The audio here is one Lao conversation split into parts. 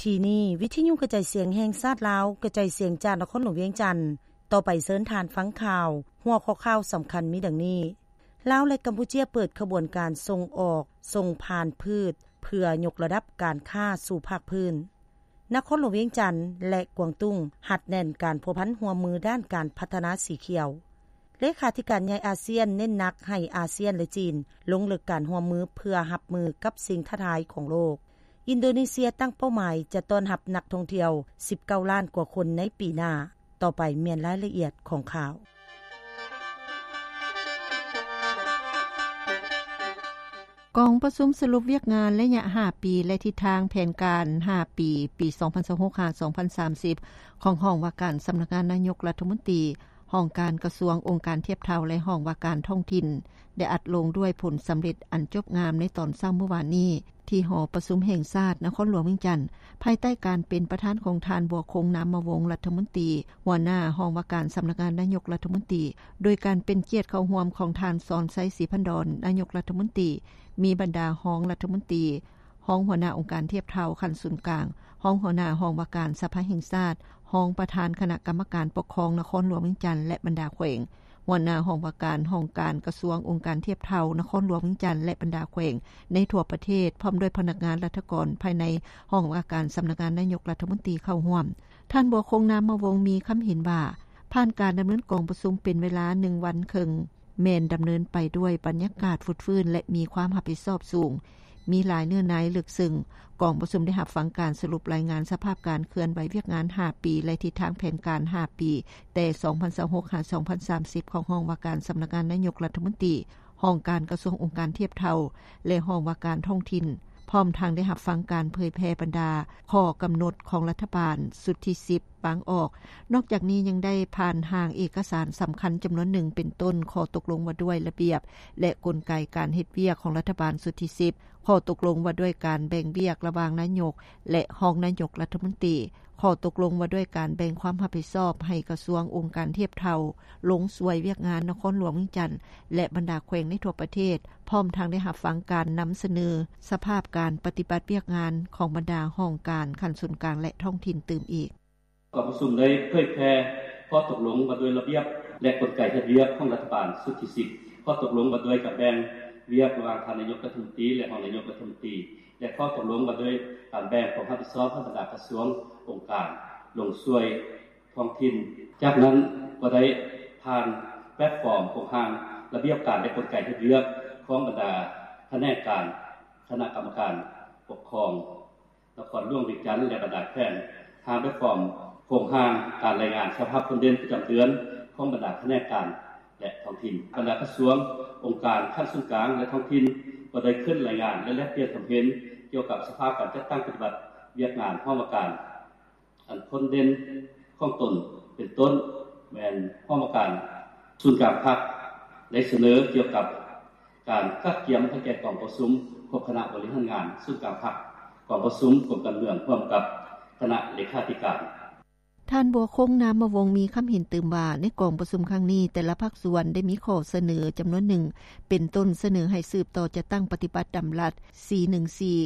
ທີ່ນີ້ ວິທະຍຸກະຈາຍສຽງແຫ່ງຊາດລາວ ກະຈາຍສຽງຈາກນະຄອນຫຼວງວຽງຈັນ. ຕໍ່ໄປເຊີນທ່ານຟັງຂ່າວ. ຫົວຂໍ້ຂ່າວສຳຄັນມີດັ່ງນີ້: ລາວ ແລະ ກຳປູເຈຍ ເປີດຂະບວນການສົ່ງອອກ, ສົ່ງຜ່ານພືດ ເພື່ອຍົກລະດັບການຄ້າສູ່ພາກພື້ນ. ນະຄອນຫຼວງວຽງຈັນ ແລະ ກວາງຕຸ້ງ ຮັດແໜ້ນການພົວພັນຮ່ວມມືດ້ານການພັດທະນາສີຂຽວ. ເລຂາທິການໃຫຍ່ອາຊຽນ ເນັ້ນໜັກໃຫ້ອາຊຽນ ແລະ ຈີນ ລົງເລິກການຮ່ວມມື ເພື່ອຮັບມືກັບສິ່ງທ້າທາຍຂອງໂລກ. ອິນໂດເນເຊຍຕັ້ງເປົ້າໝາຍຈະຕ້ອນຮັບນັກທ່ອງທ່ຽວ ສິບເກົ້າລ້ານກວ່າຄົນໃນປີໜ້າ. ຕໍ່ໄປແມ່ນລາຍລະອຽດຂອງຂ່າວ. ກອງປະຊຸມສະຫຼຸບວຽກງານໄລຍະຫ້າປີ ແລະ ທິດທາງແຜນການຫ້າປີ ປີສອງພັນຊາວຫົກ ຫາ ສອງພັນສາມສິບ ຂອງຫ້ອງວ່າການສຳນັກງານນາຍົກລັດຖະມົນຕີ, ຫ້ອງການກະຊວງ, ອົງການທຽບເທົ່າ ແລະ ຫ້ອງວ່າການທ້ອງຖິ່ນ ໄດ້ອັດລົງດ້ວຍຜົນສຳເລັດອັນຈົບງາມໃນຕອນເຊົ້າມື້ວານນີ້ ທີ່ຫໍປະຊຸມແຫ່ງຊາດນະຄອນຫຼວງວຽງຈັນ, ພາຍໃຕ້ການເປັນປະທານຂອງທ່ານ ບົວຄົງ ນາມມະວົງ ລັດຖະມົນຕີ ຫົວໜ້າຫ້ອງວ່າການສຳນັກງານນາຍົກລັດຖະມົນຕີ, ໂດຍການເປັນກຽດເຂົ້າຮ່ວມຂອງທ່ານ ສອນໄຊ ສີພັນດອນ ນາຍົກລັດຖະມົນຕີ, ມີບັນດາຮອງລັດຖະມົນຕີ, ຮອງຫົວໜ້າອົງການທຽບເທົ່າຂັ້ນສູນກາງ, ຮອງຫົວໜ້າຫ້ອງວ່າການສະພາແຫ່ງຊາດ, ຮອງປະທານຄະນະກຳມະການປົກຄອງນະຄອນຫຼວງວຽງຈັນ ແລະ ບັນດາແຂວງ, ຫົວໜ້າຫ້ອງວ່າການຫ້ອງການກະຊວງ, ອົງການທຽບເທົ່ານະຄອນຫຼວງວຽງຈັນ ແລະ ບັນດາແຂວງໃນທົ່ວປະເທດ, ພ້ອມດ້ວຍພະນັກງານລັດຖະກອນພາຍໃນຫ້ອງວ່າການສຳນັກງານນາຍົກລັດຖະມົນຕີເຂົ້າຮ່ວມ. ທ່ານ ບົວຄົງ ນາມມະວົງ ມີຄຳເຫັນວ່າ ຜ່ານການດຳເນີນກອງປະຊຸມເປັນເວລາໜຶ່ງວັນເຄິ່ງ ແມ່ນດຳເນີນໄປດ້ວຍບັນຍາກາດຟົດຟື້ນ ແລະ ມີຄວາມຮັບຜິດຊອບສູງ, ມີຫຼາຍເນື້ອໃນເລິກເຊິ່ງ. ກອງປະຊຸມໄດ້ຮັບຟັງການສະຫຼຸບລາຍງານສະພາບການເຄື່ອນໄຫວວຽກງານຫ້າປີ ແລະ ທິດທາງແຜນການຫ້າປີ ແຕ່ສອງພັນຊາວຫົກ ຫາ ສອງພັນສາມສິບ ຂອງຫ້ອງວ່າການສຳນັກງານນາຍົກລັດຖະມົນຕີ, ຫ້ອງການກະຊວງ, ອົງການທຽບເທົ່າ ແລະ ຫ້ອງວ່າການທ້ອງຖິ່ນ, ພ້ອມທັງໄດ້ຮັບຟັງການເຜີຍແຜ່ບັນດາຂໍ້ກຳນົດຂອງລັດຖະບານຊຸດທີສິບ ວາງອອກ. ນອກຈາກນີ້ຍັງໄດ້ຜ່ານຮ່າງເອກະສານສຳຄັນຈຳນວນໜຶ່ງ ເປັນຕົ້ນ ຂໍ້ຕົກລົງວ່າດ້ວຍລະບຽບ ແລະ ກົນໄກການເຮັດວຽກຂອງລັດຖະບານຊຸດທີສິບ, ຂໍ້ຕົກລົງວ່າດ້ວຍການແບ່ງວຽກລະຫວ່າງນາຍົກ ແລະ ຮອງນາຍົກລັດຖະມົນຕີ, ຂໍ້ຕົກລົງວ່າດ້ວຍການແບ່ງຄວາມຮັບຜິດຊອບໃຫ້ກະຊວງ, ອົງການທຽບເທົ່າ, ລົງຊ່ວຍວຽກງານນະຄອນຫຼວງວຽງຈັນ ແລະ ບັນດາແຂວງໃນທົ່ວປະເທດ, ພ້ອມທັງໄດ້ຮັບຟັງການນຳສະເໜີສະພາບການປະຕິບັດວຽກງານຂອງບັນດາຫ້ອງການຂັ້ນສູນກາງ ແລະ ທ້ອງຖິ່ນຕື່ມອີກ. ກອງປະຊຸມໄດ້ເຜີຍແຜ່ຂໍ້ຕົກລົງວ່າດ້ວຍລະບຽບ ແລະ ກົນໄກເຮັດວຽກຂອງລັດຖະບານຊຸດທີສິບ, ຂໍ້ຕົກລົງວ່າດ້ວຍການແບ່ງວຽກລະຫວ່າງທ່ານນາຍົກລັດຖະມົນຕີ ແລະ ຮອງນາຍົກລັດຖະມົນຕີ ແລະ ຂໍ້ຕົກລົງວ່າດ້ວຍການແບ່ງຄວາມຮັບຜິດຊອບໃຫ້ບັນດາກະຊວງ, ອົງການ, ລົງຊ່ວຍທ້ອງຖິ່ນ. ຈາກນັ້ນກໍໄດ້ຜ່ານແພລດຟອມໂຄງຮ່າງລະບຽບການ ແລະ ກົນໄກເຮັດວຽກຂອງບັນດາຂະແໜງການ, ຄະນະກຳມະການປົກຄອງ ນະຄອນຫຼວງວຽງຈັນ ແລະ ບັນດາແຂວງ, ຮ່າງແບບຟອມໂຄງຮ່າງການລາຍງານສະພາບຄົນເດັ່ນປະຈຳເດືອນຂອງບັນດາຂະແໜງການ ແລະ ທ້ອງຖິ່ນ. ບັນດາກະຊວງ, ອົງການຂັ້ນສູນກາງ ແລະ ທ້ອງຖິ່ນ ກໍໄດ້ຂຶ້ນລາຍງານ ແລະ ແລກປ່ຽນຄວາມເຫັນກ່ຽວກັບສະພາບການຈັດຕັ້ງປະຕິບັດວຽກງານຫ້ອງວ່າການ ອັນພົ້ນເດັ່ນຂອງຕົນ ເປັນຕົ້ນແມ່ນຫ້ອງວ່າການສູນກາງພັກ ໄດ້ສະເໜີກ່ຽວກັບການກະກຽມໃຫ້ແກ່ກອງປະຊຸມຄົບຄະນະບໍລິຫານງານສູນກາງພັກ, ກອງປະຊຸມກົມການເມືອງຮ່ວມກັບຄະນະເລຂາທິການ. ທ່ານ ບົວຄົງ ນາມມະວົງ ມີຄຳເຫັນຕື່ມວ່າ ໃນກອງປະຊຸມຄັ້ງນີ້ ແຕ່ລະພາກສ່ວນໄດ້ມີຂໍ້ສະເໜີຈຳນວນໜຶ່ງ ເປັນຕົ້ນສະເໜີໃຫ້ສືບຕໍ່ຈັດຕັ້ງປະຕິບັດດຳລັດ ສີ່ໜຶ່ງສີ່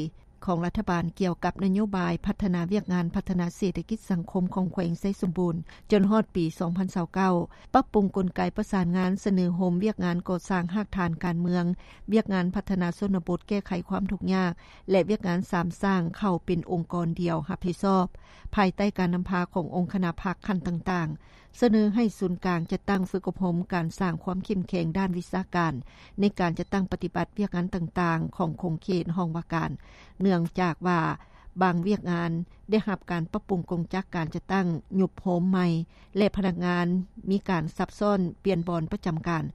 ຂອງລັດຖະບານກ່ຽວກັບນະໂຍບາຍພັດທະນາວຽກງານພັດທະນາເສດຖະກິດສັງຄົມຂອງແຂວງໄຊສົມບູນ ຈົນຮອດປີສອງພັນຊາວເກົ້າ, ປັບປຸງກົນໄກປະສານງານ, ສະເໜີໂຮມວຽກງານກໍ່ສ້າງຮາກຖານການເມືອງ, ວຽກງານພັດທະນາຊົນນະບົດແກ້ໄຂຄວາມທຸກຍາກ ແລະ ວຽກງານສາມສ້າງເຂົ້າເປັນອົງກອນດຽວຮັບຜິດຊອບ ພາຍໃຕ້ການນຳພາຂອງອົງຄະນະພັກຂັ້ນຕ່າງໆ. ສະເໜີໃຫ້ສູນກາງຈັດຕັ້ງຝຶກອົບຮົມການສ້າງຄວາມເຂັ້ມແຂງດ້ານວິຊາການ ໃນການຈັດຕັ້ງປະຕິບັດວຽກງານຕ່າງໆຂອງຂົງເຂດຫ້ອງວ່າການ, ເນື່ອງຈາກວ່າບາງວຽກງານໄດ້ຮັບການປັບປຸງກົງຈັກການຈັດຕັ້ງ, ຍຸບໂຮມໃໝ່ ແລະ ພະນັກງານມີການສັບຊ້ອນປ່ຽນບ່ອນປະຈຳການ.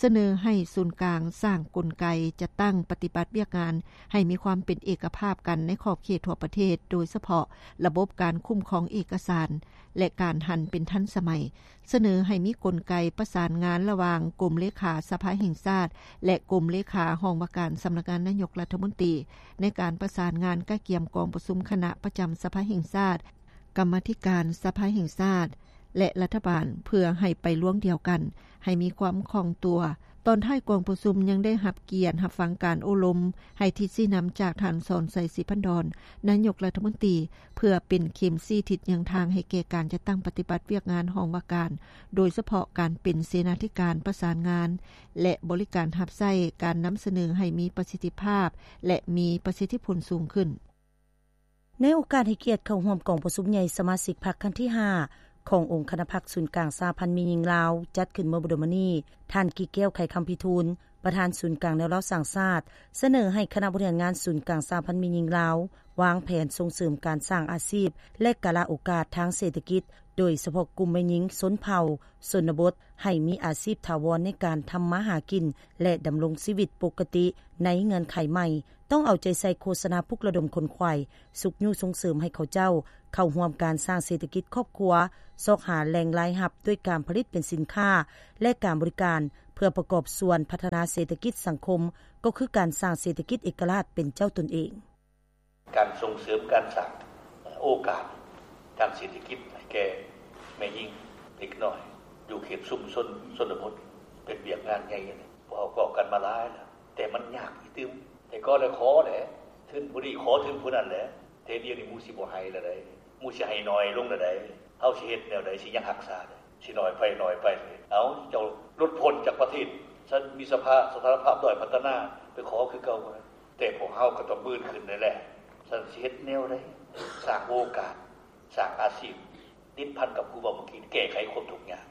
ສະເໜີໃຫ້ສູນກາງສ້າງກົນໄກຈັດຕັ້ງປະຕິບັດວຽກງານໃຫ້ມີຄວາມເປັນເອກະພາບກັນໃນຂອບເຂດທົ່ວປະເທດ, ໂດຍສະເພາະລະບົບການຄຸ້ມຄອງເອກະສານ ແລະ ການຫັນເປັນທັນສະໄໝ. ສະເໜີໃຫ້ມີກົນໄກປະສານງານລະຫວ່າງກົມເລຂາສະພາແຫ່ງຊາດ ແລະ ກົມເລຂາຫ້ອງວ່າການສຳນັກງານນາຍົກລັດຖະມົນຕີ ໃນການປະສານງານກະກຽມກອງປະຊຸມຄະນະປະຈຳສະພາແຫ່ງຊາດ, ກຳມາທິການສະພາແຫ່ງຊາດ ແລະ ລັດຖະບານ ເພື່ອໃຫ້ໄປລວງດຽວກັນ, ໃຫ້ມີຄວາມຄ່ອງຕົວ, ຕອນທ້າຍກອງປະຊຸມ ຍັງໄດ້ຮັບກຽດຮັບຟັງການໂອ້ລົມ ໃຫ້ທິດຊີ້ນຳຈາກທ່ານ ສອນໄຊ ສີພັນດອນ ນາຍົກລັດຖະມົນຕີ ເພື່ອເປັນເຂັມຊີ້ທິດຍ່າງທາງໃຫ້ແກ່ການຈັດຕັ້ງປະຕິບັດວຽກງານຫ້ອງວ່າການ, ໂດຍສະເພາະການເປັນເສນາທິການປະສານງານ ແລະ ບໍລິການຮັບໃຊ້, ການນຳສະເໜີໃຫ້ມີປະສິດທິພາບ ແລະ ມີປະສິດທິຜົນສູງຂຶ້ນ. ໃນໂອກາດໃຫ້ກຽດເຂົ້າຮ່ວມກອງປະຊຸມໃຫຍ່ສະມາຊິກພັກຄັ້ງທີຫ້າ ຂອງອົງຄະນະພັກສູນກາງສະຫະພັນແມ່ຍິງລາວ ຈັດຂຶ້ນເມື່ອບໍ່ດົນມານີ້, ທ່ານ ກິແກ້ວ ໄຂຄຳພິທູນ ປະທານສູນກາງແນວລາວສ້າງຊາດ ສະເໜີໃຫ້ຄະນະບໍລິຫານງານສູນກາງສະຫະພັນແມ່ຍິງລາວ ວາງແຜນສົ່ງເສີມການສ້າງອາຊີບ ແລະ ກາລະໂອກາດທາງເສດຖະກິດ, ໂດຍສະເພາະກຸ່ມແມ່ຍິງຊົນເຜົ່າ ຊົນນະບົດ ໃຫ້ມີອາຊີບຖາວອນໃນການທຳມາຫາກິນ ແລະ ດຳລົງຊີວິດປົກກະຕິໃນເງື່ອນໄຂໃໝ່. ຕ້ອງເອົາໃຈໃສ່ໂຄສະນາປຸກລະດົມຂົນຂວາຍ, ຊຸກຍູ້ສົ່ງເສີມໃຫ້ເຂົາເຈົ້າເຂົ້າຮ່ວມການສ້າງເສດຖະກິດຄອບຄົວ, ຊອກຫາແຫຼ່ງລາຍຮັບດ້ວຍການຜະລິດເປັນສິນຄ້າ ແລະ ການບໍລິການ ເພື່ອປະກອບສ່ວນພັດທະນາເສດຖະກິດສັງຄົມ, ກໍຄືການສ້າງເສດຖະກິດເອກະລາດເປັນເຈົ້າຕົນເອງ. ການສົ່ງເສີມການສ້າງໂອກາດທາງເສດຖະກິດໃຫ້ແກ່ແມ່ຍິງເດັກນ້ອຍ ຢູ່ເຂດຊຸມຊົນຊົນນະບົດ ເປັນວຽກງານໃຫຍ່. ພວກເຮົາກໍກັນມາຫຼາຍແລ້ວ ແຕ່ມັນຍາກອີກຕື່ມ. ແຕ່ກໍແລ້ວຂໍແຫຼະ ທຶນຜູ້ນີ້ຂໍທຶນຜູ້ນັ້ນແຫຼະ. ແຕ່ດຽວນີ້ໝູ່ຊິບໍ່ໃຫ້ແລ້ວໃດ໋ ໝູ່ຊິໃຫ້ໜ້ອຍລົງແລ້ວໃດ໋. ເຮົາຊິເຮັດແນວໃດ ຊິຍັງຮັກສາໄດ້? ຊິໜ້ອຍໄປ ໜ້ອຍໄປ. ເອົາ ເຈົ້າຫຼຸດພົ້ນຈາກປະເທດ ຊັ້ນມີສະພາ ສະຖານະພາບດ້ອຍພັດທະນາ ໄປຂໍຄືເກົ່າບໍ່ໄດ້. ແຕ່ພວກເຮົາກໍຕ້ອງບືນຂຶ້ນແຫຼະ. ຊັ້ນຊິເຮັດແນວໃດ ສ້າງໂອກາດ ສ້າງອາຊີບ ຕິດພັນກັບຜູ້ເວົ້າເມື່ອກີ້ ແກ້ໄຂຄວາມທຸກຍາກ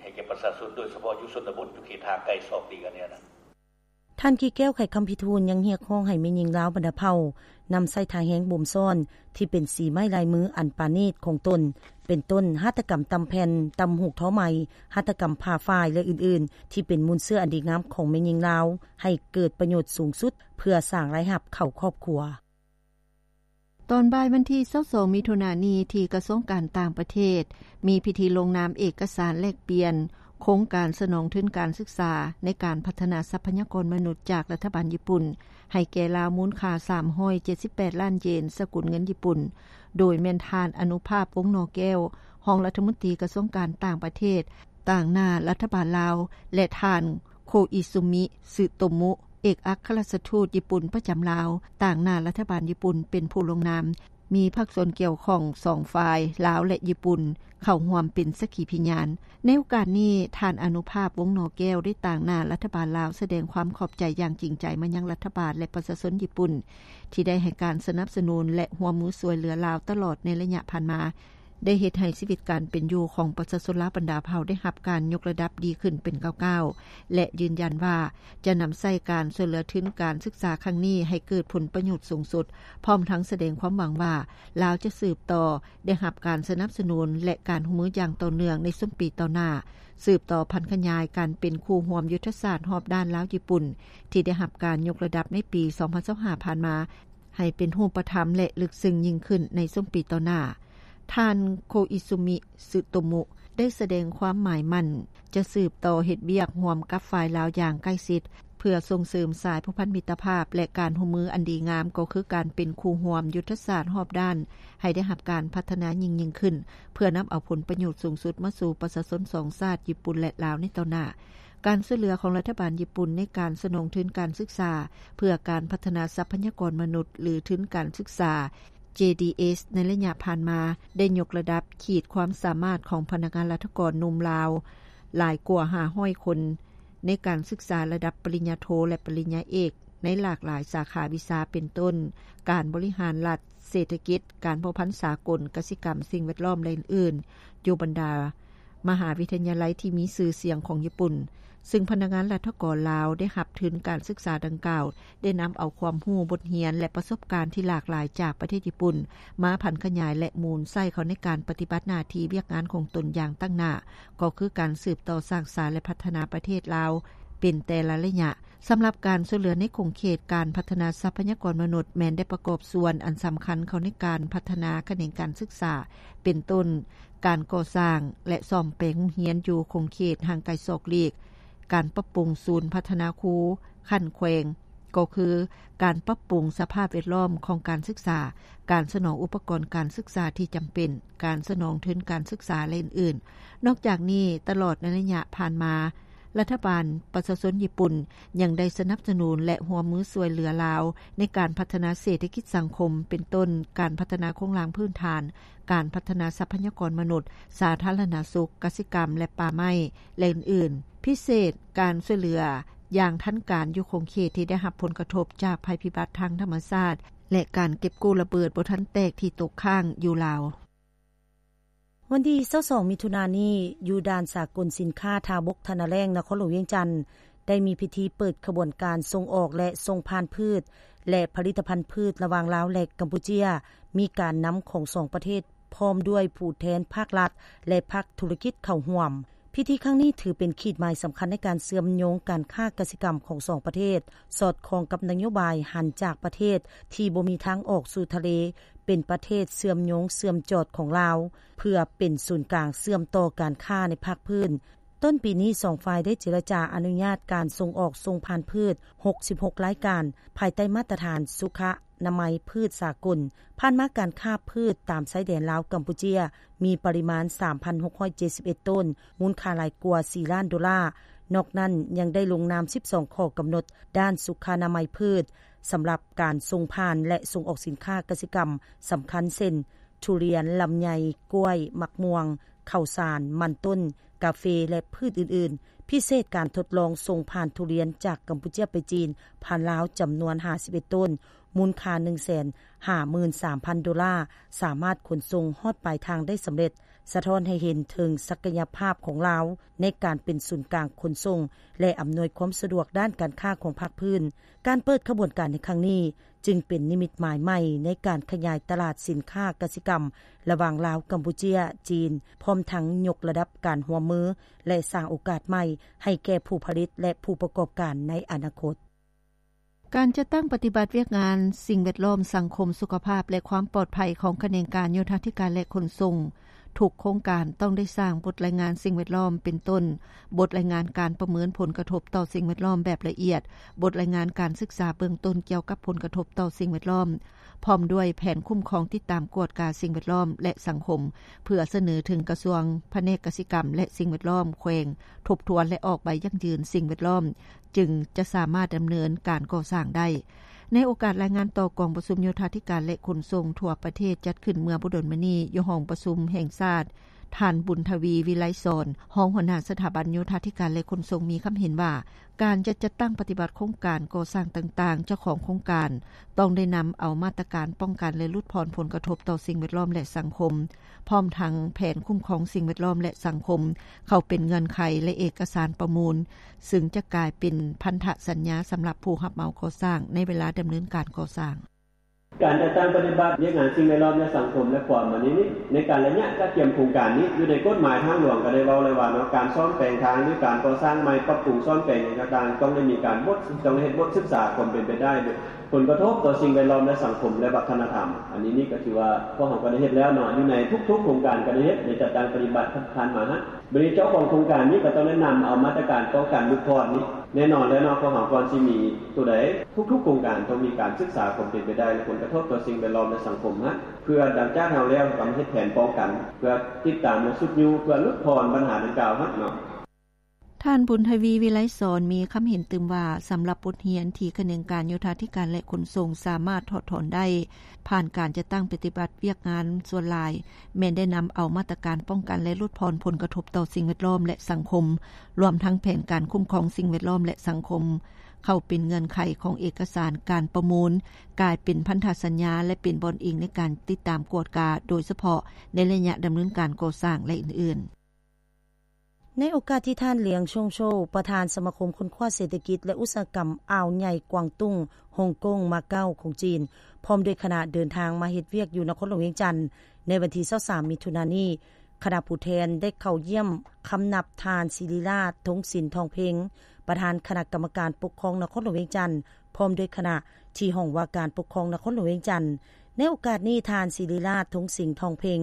ໃຫ້ແກ່ປະຊາຊົນ ໂດຍສະເພາະຢູ່ຊົນນະບົດ ຢູ່ເຂດຫ່າງໄກສອກຫຼີກ ອັນນີ້ນະ. ທ່ານ ກິແກ້ວ ໄຂຄຳພິທູນ ຍັງຮຽກຮ້ອງໃຫ້ແມ່ຍິງລາວບັນດາເຜົ່າ ນຳໃຊ້ທ່າແຮງບົ່ມຊ້ອນ ທີ່ເປັນສີໄມ້ລາຍມືອັນປານີດຂອງຕົນ ເປັນຕົ້ນ ຫັດຖະກຳຕ່ຳແຜ່ນ, ຕ່ຳຫູກທໍໄໝ, ຫັດຖະກຳຜ່າຝ້າຍ ແລະ ອື່ນໆ ທີ່ເປັນມູນເຊື້ອອັນດີງາມຂອງແມ່ຍິງລາວ ໃຫ້ເກີດປະໂຫຍດສູງສຸດ ເພື່ອສ້າງລາຍຮັບເຂົ້າຄອບຄົວ. ຕອນບ່າຍວັນທີຊາວສອງ ມິຖຸນານີ້ ທີ່ກະຊວງການຕ່າງປະເທດ ມີພິທີລົງນາມເອກະສານແລກປ່ຽນໂຄງການສະໜອງທຶນການສຶກສາ ໃນການພັດທະນາຊັບພະຍາກອນມະນຸດຈາກລັດຖະບານຍີ່ປຸ່ນ ໃຫ້ແກ່ລາວມູນຄ່າສາມຮ້ອຍເຈັດສິບແປດລ້ານເຢນ ສະກຸນເງິນຍີ່ປຸ່ນ, ໂດຍແມ່ນທ່ານ ອະນຸພາບ ວົງໜໍແກ້ວ ຮອງລັດຖະມົນຕີກະຊວງການຕ່າງປະເທດ ຕາງໜ້າລັດຖະບານລາວ ແລະ ທ່ານ ໂຄອິຊູມິ ຊຶໂຕມຸ ເອກອັກຄະລັດຖະທູດຍີ່ປຸ່ນປະຈຳລາວ ຕາງໜ້າລັດຖະບານຍີ່ປຸ່ນເປັນຜູ້ລົງນາມ, ມີພາກສ່ວນກ່ຽວຂ້ອງສອງຝ່າຍ ລາວ ແລະ ຍີ່ປຸ່ນ ເຂົ້າຮ່ວມເປັນສັກຂີພິຍານ. ໃນໂອກາດນີ້ ທ່ານ ອະນຸພາບ ວົງໜໍແກ້ວ ໄດ້ຕາງໜ້າລັດຖະບານລາວ ສະແດງຄວາມຂອບໃຈຢ່າງຈິງໃຈມາຍັງລັດຖະບານ ແລະ ປະຊາຊົນຍີ່ປຸ່ນ ທີ່ໄດ້ໃຫ້ການສະໜັບສະໜູນ ແລະ ຮ່ວມມືຊ່ວຍເຫຼືອລາວຕະຫຼອດໃນໄລຍະຜ່ານມາ. ໄດ້ເຮັດໃຫ້ຊີວິດການເປັນຢູ່ຂອງປະຊາຊົນລາວບັນດາເຜົ່າໄດ້ຮັບການຍົກລະດັບດີຂຶ້ນເປັນກ້າວໆ ແລະ ຢືນຢັນວ່າຈະນຳໃຊ້ການຊ່ວຍເຫຼືອທຶນການສຶກສາຄັ້ງນີ້ໃຫ້ເກີດຜົນປະໂຫຍດສູງສຸດ, ພ້ອມທັງສະແດງຄວາມຫວັງວ່າລາວຈະສືບຕໍ່ໄດ້ຮັບການສະໜັບສະໜູນ ແລະ ການຮ່ວມມືຢ່າງຕໍ່ເນື່ອງໃນຊຸມປີຕໍ່ໜ້າ, ສືບຕໍ່ຜັນຂະຫຍາຍການເປັນຄູ່ຮ່ວມຍຸດທະສາດຮອບດ້ານລາວຍີ່ປຸ່ນ ທີ່ໄດ້ຮັບການຍົກລະດັບໃນປີສອງພັນຊາວຫ້າຜ່ານມາ ໃຫ້ເປັນຮູບປະທຳ ແລະ ເລິກເຊິ່ງຍິ່ງຂຶ້ນໃນຊຸມປີຕໍ່ໜ້າ. ທ່ານ ໂຄອິຊູມິ ຊຶໂຕມຸ ໄດ້ສະແດງຄວາມໝາຍໝັ້ນຈະສືບຕໍ່ເຮັດວຽກຮ່ວມກັບຝ່າຍລາວຢ່າງໃກ້ຊິດ ເພື່ອສົ່ງເສີມສາຍພົວພັນມິດຕະພາບ ແລະ ການຮ່ວມມືອັນດີງາມ ກໍຄືການເປັນຄູ່ຮ່ວມຍຸດທະສາດຮອບດ້ານ ໃຫ້ໄດ້ຮັບການພັດທະນາຍິ່ງໆຂຶ້ນ ເພື່ອນຳເອົາຜົນປະໂຫຍດສູງສຸດມາສູ່ປະຊາຊົນສອງຊາດ ຍີ່ປຸ່ນ ແລະ ລາວ ໃນຕໍ່ໜ້າ. ການຊ່ວຍເຫຼືອຂອງລັດຖະບານຍີ່ປຸ່ນໃນການສະໜອງທຶນການສຶກສາເພື່ອການພັດທະນາຊັບພະຍາກອນມະນຸດ ຫຼື ທຶນການສຶກສາ ເຈດີເອສ ໃນໄລຍະຜ່ານມາ ໄດ້ຍົກລະດັບຂີດຄວາມສາມາດຂອງພະນັກງານລັດຖະກອນໜຸ່ມລາວຫຼາຍກວ່າຫ້າຮ້ອຍຄົນ ໃນການສຶກສາລະດັບປະລິນຍາໂທ ແລະ ປະລິນຍາເອກ ໃນຫຼາກຫຼາຍສາຂາວິຊາ ເປັນຕົ້ນ ການບໍລິຫານລັດ, ເສດຖະກິດ, ການພົວພັນສາກົນ, ກະສິກຳ, ສິ່ງແວດລ້ອມ ແລະ ອື່ນໆ ຢູ່ບັນດາ ມະຫາວິທະຍາໄລທີ່ມີຊື່ສຽງຂອງຍີ່ປຸ່ນ, ຊຶ່ງພະນັກງານລັດຖະກອນລາວໄດ້ຮັບທຶນການສຶກສາດັ່ງກ່າວ ໄດ້ນຳເອົາຄວາມຮູ້, ບົດຮຽນ ແລະ ປະສົບການທີ່ຫຼາກຫຼາຍຈາກປະເທດຍີ່ປຸ່ນ ມາຜັນຂະຫຍາຍ ແລະ ໝູນໃຊ້ເຂົ້າໃນການປະຕິບັດໜ້າທີ່ວຽກງານຂອງຕົນຢ່າງຕັ້ງໜ້າ, ກໍຄືການສືບຕໍ່ສ້າງສາ ແລະ ພັດທະນາປະເທດລາວເປັນແຕ່ລະໄລຍະ. ສຳລັບການຊ່ວຍເຫຼືອໃນຂົງເຂດການພັດທະນາຊັບພະຍາກອນມະນຸດ ແມ່ນໄດ້ປະກອບສ່ວນອັນສຳຄັນເຂົ້າໃນການພັດທະນາຂະແໜງການສຶກສາ ເປັນຕົ້ນ ການກໍ່ສ້າງ ແລະ ສ້ອມແປງໂຮງຮຽນຢູ່ຂົງເຂດຫ່າງໄກສອກຫຼີກ, ການປັບປຸງສູນພັດທະນາຄູຂັ້ນແຂວງ, ກໍຄືການປັບປຸງສະພາບແວດລ້ອມຂອງການສຶກສາ, ການສະໜອງອຸປະກອນການສຶກສາທີ່ຈຳເປັນ, ການສະໜອງທຶນການສຶກສາ ແລະ ອື່ນໆ. ນອກຈາກນີ້, ຕະຫຼອດໃນໄລຍະຜ່ານມາ, ລັດຖະບານປະຊາຊົນຍີ່ປຸ່ນ ຍັງໄດ້ສະໜັບສະໜູນ ແລະ ຮ່ວມມືຊ່ວຍເຫຼືອລາວ ໃນການພັດທະນາເສດຖະກິດສັງຄົມ ເປັນຕົ້ນ ການພັດທະນາໂຄງລ່າງພື້ນຖານ, ການພັດທະນາຊັບພະຍາກອນມະນຸດ, ສາທາລະນະສຸກ, ກະສິກຳ ແລະ ປ່າໄມ້ ແລະ ອື່ນໆ. ພິເສດ, ການຊ່ວຍເຫຼືອຢ່າງທັນການຢູ່ຂົງເຂດທີ່ໄດ້ຮັບຜົນກະທົບຈາກໄພພິບັດທາງທຳມະຊາດ ແລະ ການເກັບກູ້ລະເບີດບໍ່ທັນແຕກທີ່ຕົກຄ້າງຢູ່ລາວ. ວັນທີຊາວສອງ ມິຖຸນານີ້, ຢູ່ດ່ານສາກົນສິນຄ້າທ່າບົກ ທ່ານາແລ້ງ ນະຄອນຫຼວງວຽງຈັນ ໄດ້ມີພິທີເປີດຂະບວນການສົ່ງອອກ ແລະ ສົ່ງຜ່ານພືດ ແລະ ຜະລິດຕະພັນພືດ ລະຫວ່າງລາວ ແລະ ກຳປູເຈຍ, ມີການນຳຂອງສອງປະເທດ ພ້ອມດ້ວຍຜູ້ແທນພາກລັດ ແລະ ພາກທຸລະກິດເຂົ້າຮ່ວມ. ພິທີຄັ້ງນີ້ຖືເປັນຂີດໝາຍສຳຄັນໃນການເຊື່ອມໂຍງການຄ້າກະສິກຳຂອງສອງປະເທດ, ສອດຄ່ອງກັບນະໂຍບາຍຫັນຈາກປະເທດທີ່ບໍ່ມີທາງອອກສູ່ທະເລ ເປັນປະເທດເຊື່ອມໂຍງເຊື່ອມຈອດຂອງລາວ ເພື່ອເປັນສູນກາງເຊື່ອມຕໍ່ການຄ້າໃນພາກພື້ນ. ຕົ້ນປີນີ້ ສອງຝ່າຍໄດ້ເຈລະຈາອະນຸຍາດການສົ່ງອອກສົ່ງຜ່ານພືດ ຫົກສິບຫົກລາຍການ ພາຍໃຕ້ມາດຕະຖານສຸຂະນາໄມພືດສາກົນ. ຜ່ານມາການຄ້າພືດຕາມຊາຍແດນລາວ-ກຳປູເຈຍ ມີປະລິມານ ສາມພັນຫົກຮ້ອຍເຈັດສິບເອັດໂຕນ, ມູນຄ່າຫຼາຍກວ່າ ສີ່ລ້ານໂດລາ. ນອກນັ້ນຍັງໄດ້ລົງນາມ ສິບສອງຂໍ້ກຳນົດດ້ານສຸຂະນາໄມພືດ ສຳລັບການສົ່ງຜ່ານ ແລະ ສົ່ງອອກສິນຄ້າກະສິກຳສຳຄັນ ເຊັ່ນ ທຸລຽນ, ລຳໄຍ, ກ້ວຍ, ໝາກມ່ວງ, ເຂົ້າສານ, ມັນຕົ້ນ, ກາເຟ ແລະ ພືດອື່ນໆ. ພິເສດ, ການທົດລອງສົ່ງຜ່ານທຸລຽນຈາກກຳປູເຈຍໄປຈີນ ຜ່ານລາວ ຈຳນວນ ຫ້າສິບເອັດໂຕນ, ມູນຄ່າ ໜຶ່ງແສນຫ້າໝື່ນສາມພັນໂດລາ, ສາມາດຂົນສົ່ງຮອດປາຍທາງໄດ້ສຳເລັດ, ສະທ້ອນໃຫ້ເຫັນເຖິງສັກກະຍະພາບຂອງລາວໃນການເປັນສູນກາງຂົນສົ່ງ ແລະ ອຳນວຍຄວາມສະດວກດ້ານການຄ້າຂອງພາກພື້ນ. ການເປີດຂະບວນການໃນຄັ້ງນີ້ ຈຶ່ງເປັນນິມິດໝາຍໃໝ່ໃນການຂະຫຍາຍຕະຫຼາດສິນຄ້າກະສິກຳລະຫວ່າງລາວ, ກຳປູເຈຍ, ຈີນ, ພ້ອມທັງຍົກລະດັບການຮ່ວມມື ແລະ ສ້າງໂອກາດໃໝ່ໃຫ້ແກ່ຜູ້ຜະລິດ ແລະ ຜູ້ປະກອບການໃນອະນາຄົດ. ການຈັດຕັ້ງປະຕິບັດວຽກງານສິ່ງແວດລ້ອມ, ສັງຄົມ, ສຸຂະພາບ ແລະ ຄວາມປອດໄພຂອງຂະແໜງການໂຍທາທິການ ແລະ ຂົນສົ່ງ ທຸກໂຄງການຕ້ອງໄດ້ສ້າງບົດລາຍງານສິ່ງແວດລ້ອມ ເປັນຕົ້ນ ບົດລາຍງານການປະເມີນຜົນກະທົບຕໍ່ສິ່ງແວດລ້ອມແບບລະອຽດ, ບົດລາຍງານການສຶກສາເບື້ອງຕົ້ນກ່ຽວກັບຜົນກະທົບຕໍ່ສິ່ງແວດລ້ອມ, ພ້ອມດ້ວຍແຜນຄຸ້ມຄອງ, ຕິດຕາມ, ກວດກາສິ່ງແວດລ້ອມ ແລະ ສັງຄົມ ເພື່ອສະເໜີເຖິງກະຊວງ, ພະແນກກະສິກຳ ແລະ ສິ່ງແວດລ້ອມແຂວງ ທົບທວນ ແລະ ອອກໃບຢັ້ງຢືນສິ່ງແວດລ້ອມ ຈຶ່ງຈະສາມາດດຳເນີນການກໍ່ສ້າງໄດ້. ໃນໂອກາດລາຍງານຕໍ່ກອງປະຊຸມໂຍທາທິການ ແລະ ຂົນສົ່ງທົ່ວປະເທດ ຈັດຂຶ້ນເມື່ອບໍ່ດົນມານີ້ ຢູ່ຫ້ອງປະຊຸມແຫ່ງຊາດ, ທ່ານ ບຸນທະວີ ວິໄລສອນ ຮອງຫົວໜ້າສະຖາບັນໂຍທາທິການ ແລະ ຂົນສົ່ງ ມີຄຳເຫັນວ່າ ການຈະຈັດຕັ້ງປະຕິບັດໂຄງການກໍ່ສ້າງຕ່າງໆ, ເຈົ້າຂອງໂຄງການຕ້ອງໄດ້ນຳເອົາມາດຕະການປ້ອງກັນ ແລະ ຫຼຸດຜ່ອນຜົນກະທົບຕໍ່ສິ່ງແວດລ້ອມ ແລະ ສັງຄົມ, ພ້ອມທັງແຜນຄຸ້ມຄອງສິ່ງແວດລ້ອມ ແລະ ສັງຄົມ ເຂົ້າເປັນເງື່ອນໄຂ ແລະ ເອກະສານປະມູນ, ຊຶ່ງຈະກາຍເປັນພັນທະສັນຍາສຳລັບຜູ້ຮັບເໝົາກໍ່ສ້າງໃນເວລາດຳເນີນການກໍ່ສ້າງ. ການຈັດຕັ້ງປະຕິບັດວຽກງານສິ່ງແວດລ້ອມ ແລະ ສັງຄົມ ແລະ ຄວາມອັນນີ້ນີ້ ໃນການໄລຍະກະກຽມໂຄງການນີ້ ຢູ່ໃນກົດໝາຍທາງຫຼວງກໍໄດ້ເວົ້າແລ້ວວ່າເນາະ, ການສ້ອມແປງທາງ ຫຼື ການກໍ່ສ້າງໃໝ່ ປັບປຸງສ້ອມແປງຫຍັງຕ່າງໆ ຕ້ອງໄດ້ມີການບົດ ຕ້ອງໄດ້ເຮັດບົດສຶກສາຄວາມເປັນໄປໄດ້ ຜົນກະທົບຕໍ່ສິ່ງແວດລ້ອມ ແລະ ສັງຄົມ ແລະ ວັດທະນະທຳ. ອັນນີ້ນີ້ກໍຖືວ່າພວກເຮົາກໍໄດ້ເຮັດແລ້ວເນາະ, ຢູ່ໃນທຸກໆໂຄງການກໍໄດ້ເຮັດ ໄດ້ຈັດຕັ້ງປະຕິບັດຜ່ານມາຫັ້ນ. ບັດນີ້ເຈົ້າຂອງໂຄງການນີ້ກໍຕ້ອງໄດ້ນຳເອົາມາດຕະການປ້ອງກັນຫຼຸດຜ່ອນນີ້ ແນ່ນອນແລ້ວເນາະ, ພວກເຮົາກ່ອນຊິມີຕົວໃດ ທຸກໆໂຄງການຕ້ອງມີການສຶກສາຄວາມເປັນໄປໄດ້ ແລະ ຜົນກະທົບຕໍ່ສິ່ງແວດລ້ອມ ແລະ ສັງຄົມຫັ້ນ ເພື່ອຫຼັງຈາກເຮົາແລ້ວ ເຮົາກໍມາເຮັດແຜນປ້ອງກັນ ເພື່ອຕິດຕາມ ແລະ ຊຸກຍູ້ ເພື່ອຫຼຸດຜ່ອນບັນຫາດັ່ງກ່າວຫັ້ນເນາະ. ທ່ານ ບຸນທະວີ ວິໄລສອນ ມີຄຳເຫັນຕື່ມວ່າ ສຳລັບບົດຮຽນທີ່ຂະແໜງການໂຍທາທິການ ແລະ ຂົນສົ່ງ ສາມາດຖອດຖອນໄດ້ ຜ່ານການຈັດຕັ້ງປະຕິບັດວຽກງານສ່ວນຫຼາຍ ແມ່ນໄດ້ນຳເອົາມາດຕະການປ້ອງກັນ ແລະ ຫຼຸດຜ່ອນຜົນກະທົບຕໍ່ສິ່ງແວດລ້ອມ ແລະ ສັງຄົມ, ລວມທັງແຜນການຄຸ້ມຄອງສິ່ງແວດລ້ອມ ແລະ ສັງຄົມ ເຂົ້າເປັນເງື່ອນໄຂຂອງເອກະສານການປະມູນ, ກາຍເປັນພັນທະສັນຍາ ແລະ ເປັນບ່ອນອີງໃນການຕິດຕາມກວດກາ, ໂດຍສະເພາະໃນໄລຍະດຳເນີນການກໍ່ສ້າງ ແລະ ອື່ນໆ. ໃນໂອກາດທີ່ທ່ານ ຫຼຽງ ຊົງໂຊ ປະທານສະມາຄົມຄົ້ນຄວ້າເສດຖະກິດ ແລະ ອຸດສາຫະກຳອ່າວໃຫຍ່ກວາງຕຸ້ງ, ຮົງກົງ, ມາເກົາຂອງຈີນ ພ້ອມດ້ວຍຄະນະເດີນທາງມາເຮັດວຽກຢູ່ນະຄອນຫຼວງວຽງຈັນ ໃນວັນທີຊາວສາມ ມິຖຸນານີ້, ຄະນະຜູ້ແທນໄດ້ເຂົ້າຢ້ຽມຄຳນັບທ່ານ ສິລິລາດ ທົງສິນ ທອງເພັງ ປະທານຄະນະກຳມະການປົກຄອງນະຄອນຫຼວງວຽງຈັນ ພ້ອມດ້ວຍຄະນະ ທີ່ຫ້ອງວ່າການປົກຄອງນະຄອນຫຼວງວຽງຈັນ. ໃນໂອກາດນີ້, ທ່ານ ສິລິລາດ ທົງສິນ ທອງເພັງ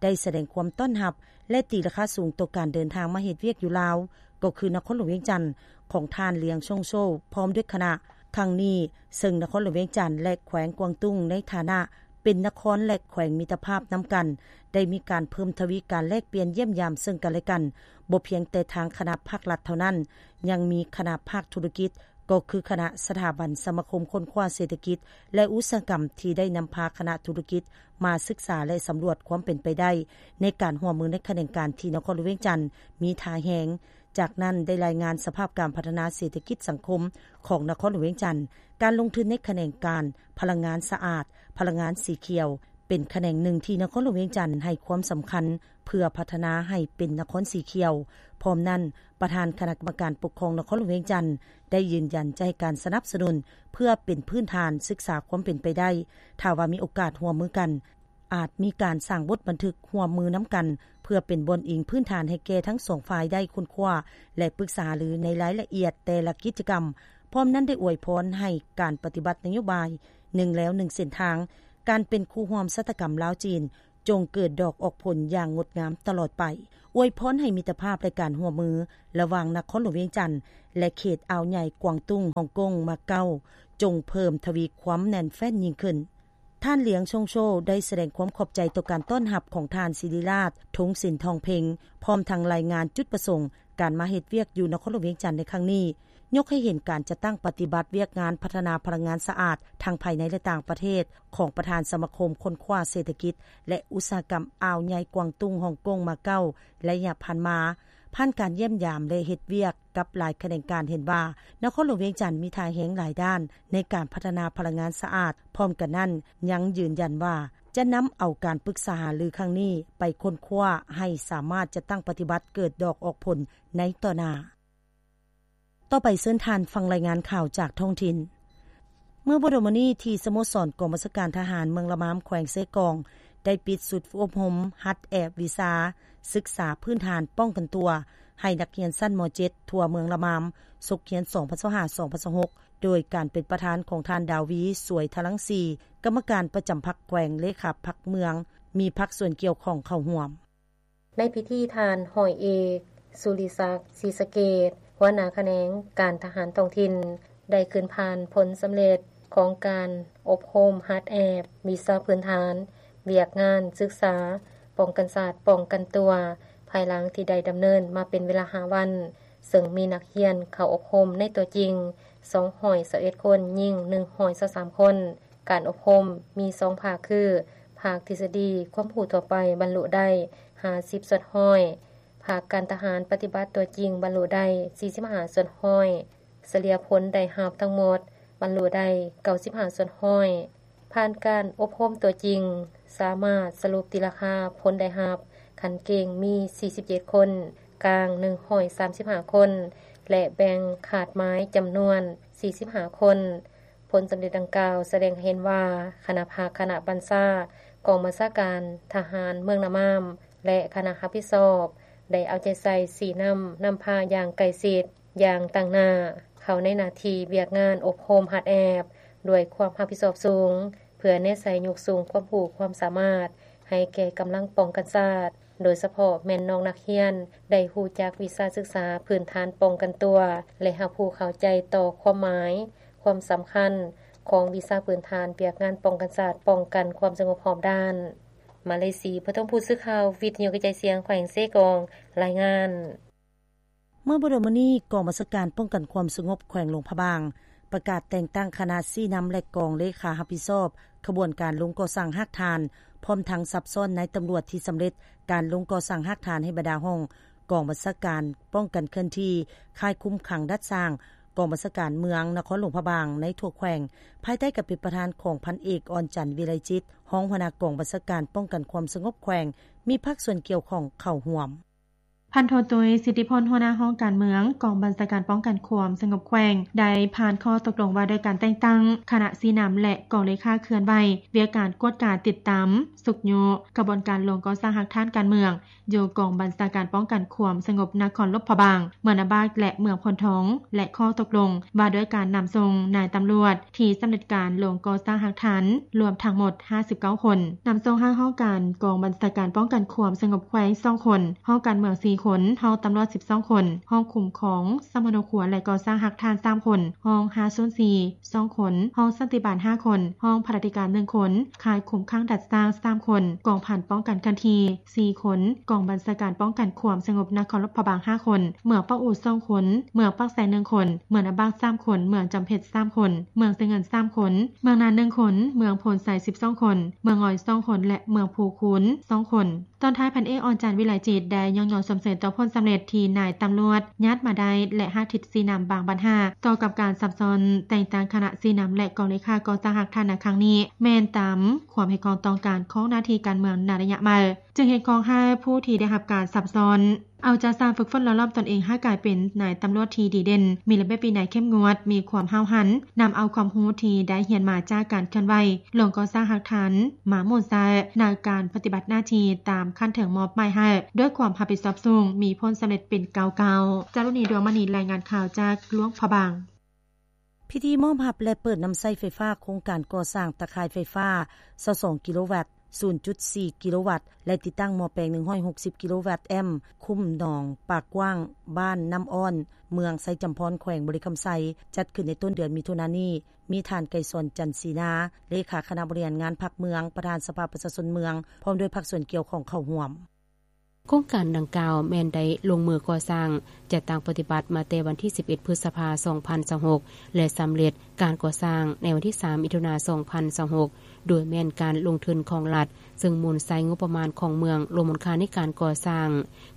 ໄດ້ສະແດງຄວາມຕ້ອນຮັບ ແລະ ຕີລາຄາສູງຕໍ່ການເດີນທາງມາເຮັດວຽກຢູ່ລາວ ກໍຄືນະຄອນຫຼວງວຽງຈັນ ຂອງທ່ານ ຫຼຽງ ຊົງໂຊ ພ້ອມດ້ວຍຄະນະ ຄັ້ງນີ້, ເຊິ່ງນະຄອນຫຼວງວຽງຈັນ ແລະ ແຂວງກວາງຕຸ້ງ ໃນຖານະ ເປັນນະຄອນ ແລະ ແຂວງມິດຕະພາບນຳກັນ ໄດ້ມີການເພີ່ມທະວີການແລກປ່ຽນຢ້ຽມຢາມເຊິ່ງກັນ ແລະ ກັນ. ບໍ່ພຽງແຕ່ທາງຄະນະພາກລັດເທົ່ານັ້ນ, ຍັງມີຄະນະພາກທຸລະກິດ, ກໍຄືຄະນະສະຖາບັນສະມາຄົມຄົ້ນຄວ້າເສດຖະກິດ ແລະ ອຸດສາຫະກຳ ທີ່ໄດ້ນຳພາຄະນະທຸລະກິດມາສຶກສາ ແລະ ສຳຫຼວດຄວາມເປັນໄປໄດ້ ໃນການຮ່ວມມືໃນຂະແໜງການທີ່ນະຄອນຫຼວງວຽງຈັນມີທ່າແຮງ. ຈາກນັ້ນໄດ້ລາຍງານສະພາບການພັດທະນາເສດຖະກິດສັງຄົມຂອງນະຄອນຫຼວງວຽງຈັນ, ການລົງທຶນໃນຂະແໜງການພະລັງງານສະອາດ, ພະລັງງານສີຂຽວ ເປັນຂະແໜງໜຶ່ງທີ່ນະຄອນຫຼວງວຽງຈັນໃຫ້ຄວາມສຳຄັນ ເພື່ອພັດທະນາໃຫ້ເປັນນະຄອນສີຂຽວ. ພ້ອມນັ້ນ, ປະທານຄະນະກຳມະການປົກຄອງນະຄອນຫຼວງວຽງຈັນ ໄດ້ຢືນຢັນຈະໃຫ້ການສະໜັບສະໜູນເພື່ອເປັນພື້ນຖານສຶກສາຄວາມເປັນໄປໄດ້. ຖ້າວ່າມີໂອກາດຮ່ວມມືກັນ, ອາດມີການສ້າງບົດບັນທຶກຮ່ວມມືນຳກັນ ເພື່ອເປັນບ່ອນອີງພື້ນຖານໃຫ້ແກ່ທັງສອງຝ່າຍໄດ້ຄົ້ນຄວ້າ ແລະ ປຶກສາຫາລືໃນລາຍລະອຽດແຕ່ລະກິດຈະກຳ. ພ້ອມນັ້ນໄດ້ອວຍພອນໃຫ້ການປະຕິບັດນະໂຍບາຍໜຶ່ງແລວໜຶ່ງເສັ້ນທາງ, ການເປັນຄູ່ຮ່ວມຊະຕາກຳລາວ-ຈີນ ຈົ່ງເກີດດອກອອກຜົນຢ່າງງົດງາມຕະຫຼອດໄປ. ອວຍພອນໃຫ້ມິດຕະພາບ ແລະ ການຮ່ວມມືລະຫວ່າງນະຄອນຫຼວງວຽງຈັນ ແລະ ເຂດອ່າວໃຫຍ່ກວາງຕຸ້ງ, ຮ່ອງກົງ, ມາເກົາ ຈົ່ງເພີ່ມທະວີຄວາມແໜ້ນແຟ້ນຍິ່ງຂຶ້ນ. ທ່ານ ຫຼຽງ ຊົງໂຊ ໄດ້ສະແດງຄວາມຂອບໃຈຕໍ່ການຕ້ອນຮັບຂອງທ່ານສິລິລາດ ທົງສິນທອງເພັງ ພ້ອມທັງລາຍງານຈຸດປະສົງການມາເຮັດວຽກຢູ່ນະຄອນຫຼວງວຽງຈັນໃນຄັ້ງນີ້, ຍົກໃຫ້ເຫັນການຈັດຕັ້ງປະຕິບັດວຽກງານພັດທະນາພະລັງງານສະອາດທັງພາຍໃນ ແລະ ຕ່າງປະເທດ ຂອງປະທານສະມາຄົມຄົ້ນຄວ້າເສດຖະກິດ ແລະ ອຸດສາຫະກຳອ່າວໃຫຍ່ກວາງຕຸ້ງ, ຮ່ອງກົງ, ມາເກົາ ໄລຍະຜ່ານມາ. ຜ່ານການຢ້ຽມຢາມ ແລະ ເຮັດວຽກກັບຫຼາຍຂະແໜງການ ເຫັນວ່ານະຄອນຫຼວງວຽງຈັນມີທ່າແຮງຫຼາຍດ້ານໃນການພັດທະນາພະລັງງານສະອາດ. ພ້ອມກັນນັ້ນ, ຍັງຢືນຢັນວ່າຈະນຳເອົາການປຶກສາຫາລືຄັ້ງນີ້ໄປຄົ້ນຄວ້າໃຫ້ສາມາດຈັດຕັ້ງປະຕິບັດເກີດດອກອອກຜົນໃນຕໍ່ໜ້າ. ຕໍ່ໄປເຊີນທ່ານຟັງລາຍງານຂ່າວຈາກທ້ອງຖິ່ນ. ເມື່ອບໍ່ດົນມານີ້ ທີ່ສະໂມສອນກອງບັນຊາການທະຫານເມືອງລະມາມ ແຂວງເຊກອງ ໄດ້ປິດຊຸດອົບຮົມຫັດແອບວິຊາສຶກສາພື້ນຖານປ້ອງກັນຕົວ ໃຫ້ນັກຮຽນຊັ້ນ ມ.ເຈັດ ທົ່ວເມືອງລະມາມ ສົກຮຽນ ສອງພັນຊາວຫ້າ ສອງພັນຊາວຫົກ ໂດຍການເປັນປະທານຂອງທ່ານ ດາວີ ສວຍທະລັງສີ ກຳມະການປະຈຳພັກແຂວງ, ເລຂາພັກເມືອງ, ມີພາກສ່ວນກ່ຽວຂ້ອງເຂົ້າຮ່ວມ. ໃນພິທີ ທ່ານ ຮ້ອຍເອກ ສຸລິສັກ ສີສະເກດ ຫົວໜ້າຂະແໜງການທະຫານທ້ອງຖິ່ນ ໄດ້ຂຶ້ນຜ່ານຜົນສຳເລັດຂອງການອົບຮົມຫັດແອບວິຊາພື້ນຖານວຽກງານສຶກສາປ້ອງກັນຊາດປ້ອງກັນຕົວ ພາຍຫຼັງທີ່ໄດ້ດຳເນີນມາເປັນເວລາຫ້າວັນ, ເຊິ່ງມີນັກຮຽນເຂົ້າອົບຮົມໃນຕົວຈິງ ສອງຮ້ອຍຊາວເອັດຄົນ, ຍິງ ໜຶ່ງຮ້ອຍຊາວສາມຄົນ. ການອົບຮົມມີສອງພາກຄື ພາກທິດສະດີຄວາມຮູ້ທົ່ວໄປບັນລຸໄດ້ຫ້າສິບສ່ວນຮ້ອຍ, ພາກການທະຫານປະຕິບັດຕົວຈິງບັນລຸໄດ້ສີ່ສິບຫ້າສ່ວນຮ້ອຍ, ສະເລ່ຍຜົນໄດ້ຮັບທັງໝົດບັນລຸໄດ້ເກົ້າສິບຫ້າສ່ວນຮ້ອຍ. ຜ່ານການອົບຮົມຕົວຈິງ, ສາມາດສະຫຼຸບຕີລາຄາຜົນໄດ້ຮັບຂັ້ນເກັ່ງມີສີ່ສິບເຈັດຄົນ, ກາງໜຶ່ງຮ້ອຍສາມສິບຫ້າຄົນ ແລະ ແບ່ງຄາດໝາຍຈຳນວນສີ່ສິບຫ້າຄົນ. ຜົນສຳເລັດດັ່ງກ່າວສະແດງໃຫ້ເຫັນວ່າ ຄະນະພັກ, ຄະນະບັນຊາກອງບັນຊາການທະຫານເມືອງນາມາມ ແລະ ຄະນະຮັບຜິດຊອບ ໄດ້ເອົາໃຈໃສ່ຊີ້ນຳ, ນຳພາຢ່າງໃກ້ຊິດ, ຢ່າງຕັ້ງໜ້າ ເຂົ້າໃນໜ້າທີ່ວຽກງານອົບຮົມຫັດແອບ ດ້ວຍຄວາມຮັບຜິດຊອບສູງ, ເພື່ອແນໃສ່ຍົກສູງຄວາມຮູ້ຄວາມສາມາດໃຫ້ແກ່ກຳລັງປ້ອງກັນຊາດ, ໂດຍສະເພາະແມ່ນນ້ອງນັກຮຽນໄດ້ຮູ້ຈັກວິຊາສຶກສາພື້ນຖານປ້ອງກັນຕົວ ແລະ ຮັບຮູ້ເຂົ້າໃຈຕໍ່ຄວາມໝາຍ, ຄວາມສຳຄັນຂອງວິຊາພື້ນຖານວຽກງານປ້ອງກັນຊາດ, ປ້ອງກັນຄວາມສະຫງົບຮອບດ້ານ. ມາເລຊີ ປະຖົມພູດ ສື່ຂ່າວວິທະຍຸກະຈາຍສຽງແຂວງເຊກອງ ລາຍງານ. ເມື່ອບໍ່ດົນມານີ້ ກອງບັນຊາການປ້ອງກັນຄວາມສະຫງົບແຂວງຫຼວງພະບາງ ປະກາດແຕ່ງຕັ້ງຄະນະຊີ້ນຳ ແລະ ກອງເລຂາຮັບຜິດຊອບຂະບວນການລົງກໍ່ສ້າງຮາກຖານ, ພ້ອມທັງສັບຊ້ອນນາຍຕຳຫຼວດທີ່ສຳເລັດການລົງກໍ່ສ້າງຮາກຖານໃຫ້ບັນດາຫ້ອງກອງບັນຊາການປ້ອງກັນເຄື່ອນທີ່, ຄ້າຍຄຸມຂັງດັດສ້າງ, ກອງບັນຊາການເມືອງນະຄອນຫຼວງພະບາງໃນທົ່ວແຂວງ, ພາຍໃຕ້ການເປັນປະທານຂອງພັນເອກ ອ່ອນຈັນ ວິໄລຈິດ, ຮອງຫົວໜ້າກອງບັນຊາການປ້ອງກັນຄວາມສະຫງົບແຂວງ, ມີພາກສ່ວນກ່ຽວຂ້ອງເຂົ້າຮ່ວມ. ພັນໂທ ຕຸ້ຍ ສິດທິພົນ ຫົວໜ້າຫ້ອງການເມືອງ ກອງບັນຊາການປ້ອງກັນຄວາມສະຫງົບແຂວງ ໄດ້ຜ່ານຂໍ້ຕົກລົງວ່າດ້ວຍການແຕ່ງຕັ້ງຄະນະຊີ້ນຳ ແລະ ກອງເລຂາເຄື່ອນໄຫວວຽກການກວດກາຕິດຕາມ, ຊຸກຍູ້ຂະບວນການລົງກໍ່ສ້າງຮາກຖານການເມືອງ ຢູ່ກອງບັນຊາການປ້ອງກັນຄວາມສະຫງົບນະຄອນຫຼວງພະບາງ, ເມືອງນາບາກ ແລະ ເມືອງໂພນທອງ ແລະ ຂໍ້ຕົກລົງວ່າດ້ວຍການນຳສົ່ງນາຍຕຳຫຼວດ ທີ່ສຳເລັດການລົງກໍ່ສ້າງຮາກຖານລວມທັງໝົດຫ້າສິບເກົ້າຄົນ, ນຳສົ່ງໃຫ້ຫ້ອງການກອງບັນຊາການປ້ອງກັນຄວາມສະຫງົບແຂວງສອງຄົນ, ຫ້ອງການເມືອງສີ່ ຄົນ, ຫ້ອງຕຳຫຼວດສິບສອງຄົນ, ຫ້ອງຄຸ້ມຄອງສຳມະໂນຄົວ ແລະ ກໍ່ສ້າງຮາກຖານສາມຄົນ, ຫ້ອງຫ້າສູນສີ່ສອງຄົນ, ຫ້ອງສັນຕິບານຫ້າຄົນ, ຫ້ອງພະລາທິການໜຶ່ງຄົນ, ຄ້າຍຄຸມຂັງດັດສ້າງສາມຄົນ, ກອງພັນປ້ອງກັນເຄື່ອນທີ່ສີ່ຄົນ, ກອງບັນຊາການປ້ອງກັນຄວາມສະຫງົບນະຄອນຫຼວງພະບາງຫ້າຄົນ, ເມືອງປາກອູສອງຄົນ, ເມືອງປາກແຊໜຶ່ງຄົນ, ເມືອງນາບາກສາມຄົນ, ເມືອງຈຳເພັດສາມຄົນ, ເມືອງໄຊເງິນສາມຄົນ, ເມືອງນານໜຶ່ງຄົນ, ເມືອງໂພນໄຊສິບສອງຄົນ, ເມືອງງອຍສອງຄົນ ແລະ ເມືອງພູຄູນສອງຄົນ. ຕອນທ້າຍ ພັນເອກ ອອນຈັນ ວິໄລຈິດ ໄດ້ຍ້ອງຍໍຊົມເຊີຍຕໍ່ຜົນສຳເລັດທີ່ນາຍຕຳຫຼວດຍາດມາໄດ້ ແລະ ຮາກທິດຊີ້ນຳບາງບັນຫາຕໍ່ກັບການສັບຊ້ອນແຕ່ງຕັ້ງຄະນະຊີ້ນຳ ແລະ ກອງເລຂາກໍ່ສ້າງຮາກຖານໃນຄັ້ງນີ້ ແມ່ນຕາມຄວາມຮຽກຮ້ອງຕ້ອງການຂອງໜ້າທີ່ການເມືອງໃນໄລຍະໃໝ່, ຈຶ່ງຮຽກຮ້ອງໃຫ້ຜູ້ທີ່ໄດ້ຮັບການສັບຊ້ອນ ເອົາໃຈໃສ່ຝຶກຝົນຫຼໍ່ຫຼອມຕົນເອງໃຫ້ກາຍເປັນນາຍຕຳຫຼວດທີ່ດີເດັ່ນ, ມີລະບຽບວິໄນເຂັ້ມງວດ, ມີຄວາມຫ້າວຫັນ, ນຳເອົາຄວາມຮູ້ທີ່ໄດ້ຮຽນມາຈາກການເຄື່ອນໄຫວ ລົງກໍ່ສ້າງຮາກຖານມາໝູນໃຊ້ໃນການປະຕິບັດໜ້າທີ່ຕາມຂັ້ນເທິງມອບໝາຍໃຫ້ ດ້ວຍຄວາມຮັບຜິດຊອບສູງ, ມີຜົນສຳເລັດເປັນກ້າວໆ. ຈາລຸນີ ດວງມະນີ ລາຍງານຂ່າວຈາກຫຼວງພະບາງ. ພິທີມອບຮັບ ແລະ ເປີດນຳໃຊ້ໄຟຟ້າໂຄງການກໍ່ສ້າງຕາຂ່າຍໄຟຟ້າຊາວສອງກິໂລວັດ, ສູນຈຸດສີ່ກິໂລວັດ ແລະ ຕິດຕັ້ງໝໍ້ແປງໜຶ່ງຮ້ອຍຫົກສິບກິໂລວັດແອມ ຄຸ້ມໜອງປາກກວ້າງ, ບ້ານນ້ຳອ້ອນ, ເມືອງໄຊຈຳພອນ, ແຂວງບໍລິຄຳໄຊ ຈັດຂຶ້ນໃນຕົ້ນເດືອນມິຖຸນານີ້. ມີທ່ານ ໄກສອນ ຈັນສີນາ, ເລຂາຄະນະບໍລິຫານງານພັກເມືອງ, ປະທານສະພາປະຊາຊົນເມືອງ, ພ້ອມດ້ວຍພາກສ່ວນກ່ຽວຂ້ອງເຂົ້າຮ່ວມ. ໂຄງການດັ່ງກ່າວແມ່ນໄດ້ລົງມືກໍ່ສ້າງ, ຈັດຕັ້ງປະຕິບັດມາແຕ່ວັນທີສິບເອັດ ພຶດສະພາ ສອງພັນຊາວຫົກ ແລະ ສຳເລັດການກໍ່ສ້າງໃນວັນທີສາມ ມິຖຸນາ ສອງພັນຊາວຫົກ ໂດຍແມ່ນການລົງທຶນຂອງລັດ, ເຊິ່ງໝູນໃຊ້ງົບປະມານຂອງເມືອງ, ລວມມູນຄ່າໃນການກໍ່ສ້າງ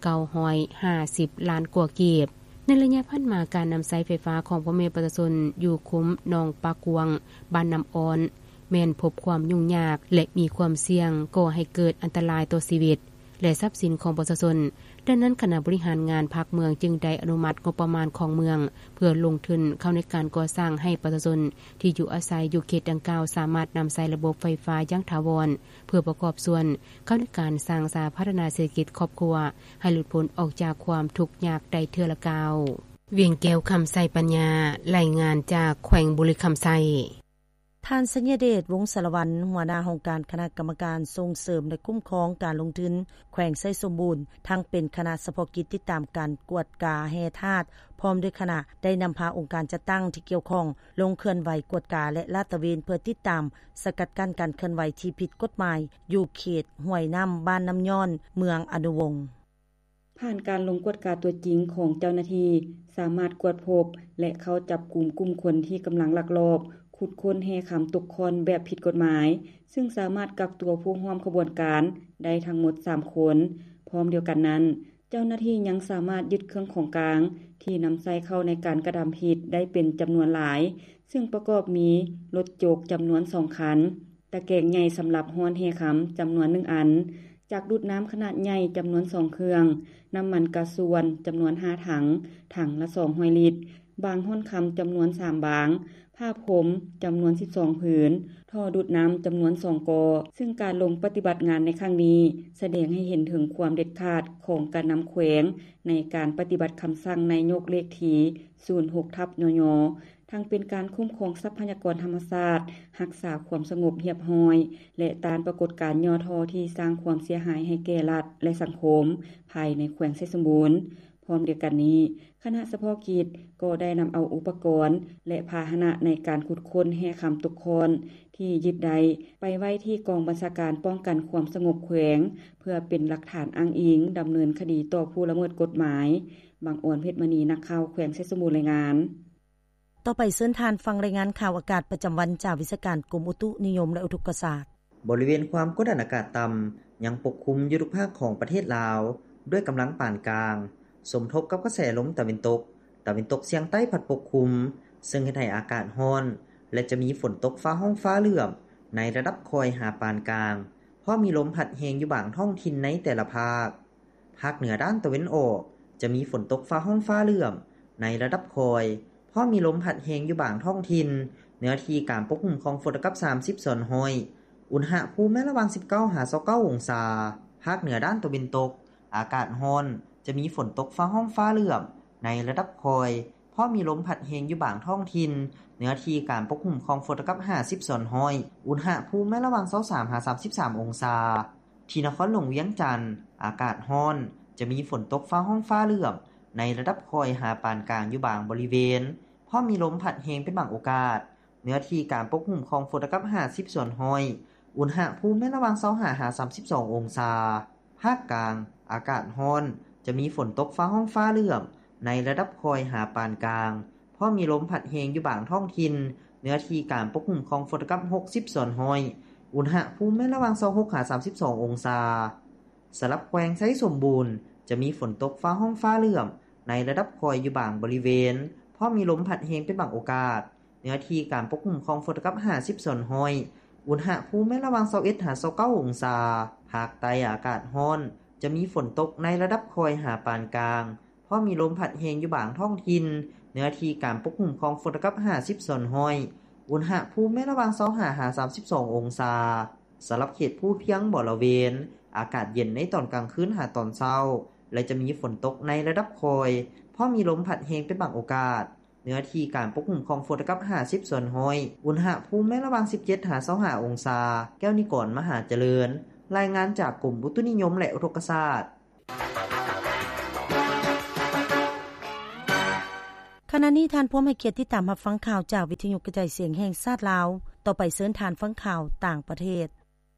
ເກົ້າຮ້ອຍຫ້າສິບລ້ານກວ່າກີບ. ໃນໄລຍະຜ່ານມາ, ການນຳໃຊ້ໄຟຟ້າຂອງພໍ່ແມ່ປະຊາຊົນຢູ່ຄຸ້ມໜອງປາກກວ້າງ, ບ້ານນ້ຳອ້ອນ ແມ່ນພົບຄວາມຫຍຸ້ງຍາກ ແລະ ມີຄວາມສ່ຽງກໍ່ໃຫ້ເກີດອັນຕະລາຍຕໍ່ຊີວິດ ແລະ ຊັບສິນຂອງປະຊາຊົນ. ດັ່ງນັ້ນ, ຄະນະບໍລິຫານງານພັກເມືອງຈຶ່ງໄດ້ອະນຸມັດງົບປະມານຂອງເມືອງ ເພື່ອລົງທຶນເຂົ້າໃນການກໍ່ສ້າງໃຫ້ປະຊາຊົນທີ່ຢູ່ອາໄສຢູ່ເຂດດັ່ງກ່າວ ສາມາດນຳໃຊ້ລະບົບໄຟຟ້າຢ່າງຖາວອນ ເພື່ອປະກອບສ່ວນເຂົ້າໃນການສ້າງສາພັດທະນາເສດຖະກິດຄອບຄົວ ໃຫ້ຫຼຸດພົ້ນອອກຈາກຄວາມທຸກຍາກໄດ້ເທື່ອລະກ້າວ. ວຽງແກ້ວ ຄຳໄຊປັນຍາ, ລາຍງານຈາກແຂວງບໍລິຄຳໄຊ. ທ່ານ ໄຊຍະເດດ ວົງສາລະວັນ, ຫົວໜ້າຫ້ອງການຄະນະກຳມະການສົ່ງເສີມ ແລະ ຄຸ້ມຄອງການລົງທຶນແຂວງໄຊສົມບູນ, ທັງເປັນຄະນະສະເພາະກິດຕິດຕາມການກວດກາແຮ່ທາດ ພ້ອມດ້ວຍຄະນະ ໄດ້ນຳພາອົງການຈັດຕັ້ງທີ່ກ່ຽວຂ້ອງ ລົງເຄື່ອນໄຫວກວດກາ ແລະ ລາດຕະເວນ ເພື່ອຕິດຕາມສະກັດກັ້ນການເຄື່ອນໄຫວທີ່ຜິດກົດໝາຍ ຢູ່ເຂດຫ້ວຍນ້ຳ ບ້ານນ້ຳຍ້ອນ ເມືອງອະນຸວົງ. ຜ່ານການລົງກວດກາຕົວຈິງຂອງເຈົ້າໜ້າທີ່ ສາມາດກວດພົບ ແລະ ເຂົ້າຈັບກຸມກຸ່ມຄົນທີ່ກຳລັງລັກລອບຂຸດຄົ້ນແຮ່ຄຳຕົກຂ້ອນແບບຜິດກົດໝາຍ, ຊຶ່ງສາມາດກັກຕົວຜູ້ຮ່ວມຂະບວນການໄດ້ທັງໝົດສາມຄົນ. ພ້ອມດຽວກັນນັ້ນ, ເຈົ້າໜ້າທີ່ຍັງສາມາດຍຶດເຄື່ອງຂອງກາງທີ່ນຳໃຊ້ເຂົ້າໃນການກະທຳຜິດໄດ້ເປັນຈຳນວນຫຼາຍ, ຊຶ່ງປະກອບມີລົດຈົກຈຳນວນສອງຄັນ, ຕະແກງໃຫຍ່ສຳລັບຮ້ອນແຮ່ຄຳຈຳນວນໜຶ່ງອັນ, ຈັກດູດນ້ຳຂະໜາດໃຫຍ່ຈຳນວນສອງເຄື່ອງ, ນ້ຳມັນກາຊວນຈຳນວນຫ້າຖັງ, ຖັງລະສອງຮ້ອຍລິດ, ບາງຮ້ອນຄຳຈຳນວນສາມບາງ, ຜ້າພົມຈຳນວນສິບສອງຜືນ, ທໍ່ດູດນ້ຳຈຳນວນສອງກໍ, ຊຶ່ງການລົງປະຕິບັດງານໃນຄັ້ງນີ້ ສະແດງໃຫ້ເຫັນເຖິງຄວາມເດັດຂາດຂອງການນຳແຂວງໃນການປະຕິບັດຄຳສັ່ງນາຍົກເລກທີສູນຫົກທັບ ຍຍ ທັງເປັນການຄຸ້ມຄອງຊັບພະຍາກອນທຳມະຊາດ, ຮັກສາຄວາມສະຫງົບຮຽບຮ້ອຍ ແລະ ຕ້ານປາກົດການຫຍໍ້ທໍ້ທີ່ສ້າງຄວາມເສຍຫາຍໃຫ້ແກ່ລັດ ແລະ ສັງຄົມພາຍໃນແຂວງໄຊສົມບູນ. ພ້ອມດຽວກັນນີ້, ຄະນະສະເພາະກິດກໍໄດ້ນຳເອົາອຸປະກອນ ແລະ ພາຫະນະໃນການຂຸດຄົ້ນແຮ່ຄຳຕົກຂ້ອນທີ່ຍຶດໄດ້ ໄປໄວ້ທີ່ກອງບັນຊາການປ້ອງກັນຄວາມສະຫງົບແຂວງ ເພື່ອເປັນຫຼັກຖານອ້າງອີງດຳເນີນຄະດີຕໍ່ຜູ້ລະເມີດກົດໝາຍ. ບັງອອນ ເພັດມະນີ, ນັກຂ່າວແຂວງໄຊສົມບູນ ລາຍງານ. ຕໍ່ໄປເຊີນທ່ານຟັງລາຍງານຂ່າວອາກາດປະຈຳວັນຈາກວິຊາການກົມອຸຕຸນິຍົມ ແລະ ອຸທົກກະສາດ. ບໍລິເວນຄວາມກົດດັນອາກາດຕ່ຳຍັງປົກຄຸມຢູ່ທຸກພາກຂອງປະເທດລາວ ດ້ວຍກຳລັງປານກາງ, ສົມທົບກັບກະແສລົມຕາເວັນຕົກ, ຕາເວັນຕົກສຽງໃຕ້ພັດປົກຄຸມ, ເຊິ່ງເຮັດໃຫ້ອາກາດຮ້ອນ ແລະ ຈະມີຝົນຕົກຟ້າຮ້ອງຟ້າເຫຼື້ອມໃນລະດັບຄ່ອຍຫາປານກາງ, ພ້ອມມີລົມພັດແຮງຢູ່ບາງທ້ອງຖິ່ນໃນແຕ່ລະພາກ. ພາກເໜືອດ້ານຕາເວັນອອກ ຈະມີຝົນຕົກຟ້າຮ້ອງຟ້າເຫຼື້ອມໃນລະດັບຄ່ອຍ, ພ້ອມມີລົມພັດແຮງຢູ່ບາງທ້ອງຖິ່ນ, ເນື້ອທີ່ການປົກຄຸມຂອງຝົນເທົ່າກັບສາມສິບສ່ວນຮ້ອຍ, ອຸນຫະພູມແມ່ນລະຫວ່າງສິບເກົ້າຫາຊາວເກົ້າອົງສາ. ພາກເໜືອດ້ານຕາເວັນຕົກ ອາກາດຮ້ອນ, ຈະມີຝົນຕົກຟ້າຮ້ອງຟ້າເຫຼື້ອມໃນລະດັບຄ່ອຍ, ພ້ອມມີລົມພັດແຮງຢູ່ບາງທ້ອງຖິ່ນ, ເນື້ອທີ່ການປົກຄຸມຂອງຝົນເທົ່າກັບຫ້າສິບສ່ວນຮ້ອຍ, ອຸນຫະພູມແມ່ນລະຫວ່າງຊາວສາມຫາສາມສິບສາມອົງສາ. ທີ່ນະຄອນຫຼວງວຽງຈັນ ອາກາດຮ້ອນ, ຈະມີຝົນຕົກຟ້າຮ້ອງຟ້າເຫຼື້ອມ ໃນລະດັບຄ່ອຍຫາປານກາງຢູ່ບາງບໍລິເວນ, ພ້ອມມີລົມພັດແຮງເປັນບາງໂອກາດ. ເນື້ອທີ່ການປົກຄຸມຂອງຝົນລະກັບຫ້າສິບສ່ວນຮ້ອຍ, ອຸນຫະພູມແມ່ນລະຫວ່າງຊາວຫ້າຫາສາມສິບສອງອົງສາ. ພາກກາງ, ອາກາດຮ້ອນ, ຈະມີຝົນຕົກຟ້າຮ້ອງຟ້າເຫຼື້ອມ ໃນລະດັບຄ່ອຍຫາປານກາງ, ພ້ອມມີລົມພັດແຮງຢູ່ບາງທ້ອງຖິ່ນ. ເນື້ອທີ່ການປົກຄຸມຂອງຝົນລະກັບຫົກສິບສ່ວນຮ້ອຍ, ອຸນຫະພູມແມ່ນລະຫວ່າງຊາວຫົກຫາສາມສິບສອງອົງສາ. ສຳລັບແຂວງໄຊສົມບູນ ຈະມີຝົນຕົກຟ້າຮ້ອງຟ້າເຫຼື້ອມ ໃນລະດັບຄ່ອຍຢູ່ບາງບໍລິເວນ, ພ້ອມມີລົມພັດແຮງເປັນບາງໂອກາດ. ເນື້ອທີ່ການປົກຄຸມຂອງຝົນລະກັບຫ້າສິບສ່ວນຮ້ອຍ, ອຸນຫະພູມແມ່ນລະຫວ່າງຊາວເອັດຫາຊາວເກົ້າອົງສາ. ພາກໃຕ້ອາກາດຮ້ອນ, ຈະມີຝົນຕົກໃນລະດັບຄ່ອຍຫາປານກາງ, ພ້ອມມີລົມພັດແຮງຢູ່ບາງທ້ອງຖິ່ນ. ເນື້ອທີ່ການປົກຄຸມຂອງຝົນລະກັບຫ້າສິບສ່ວນຮ້ອຍ, ອຸນຫະພູມແມ່ນລະຫວ່າງຊາວຫ້າຫາສາມສິບສອງອົງສາ. ສຳລັບເຂດພູພຽງບໍລະເວນ, ອາກາດເຢັນໃນຕອນກາງຄືນຫາຕອນເຊົ້າ ແລະ ຈະມີຝົນຕົກໃນລະດັບຄ່ອຍ, ພ້ອມມີລົມພັດແຮງເປັນບາງໂອກາດ. ເນື້ອທີ່ການປົກຄຸມຂອງຝົນລະກັບຫ້າສິບສ່ວນຮ້ອຍ, ອຸນຫະພູມແມ່ນລະຫວ່າງສິບເຈັດຫາຊາວຫ້າອົງສາ. ແກ້ວນິກອນ ມະຫາຈະເລີນ, ລາຍງານຈາກກົມອຸຕຸນິຍົມ ແລະ ອຸທົກກະສາດ. ຂະນະນີ້ທ່ານພວມໃຫ້ກຽດຕິດຕາມຮັບຟັງຂ່າວຈາກວິທະຍຸກະຈາຍສຽງແຫ່ງຊາດລາວ. ຕໍ່ໄປເຊີນທ່ານຟັງຂ່າວຕ່າງປະເທດ.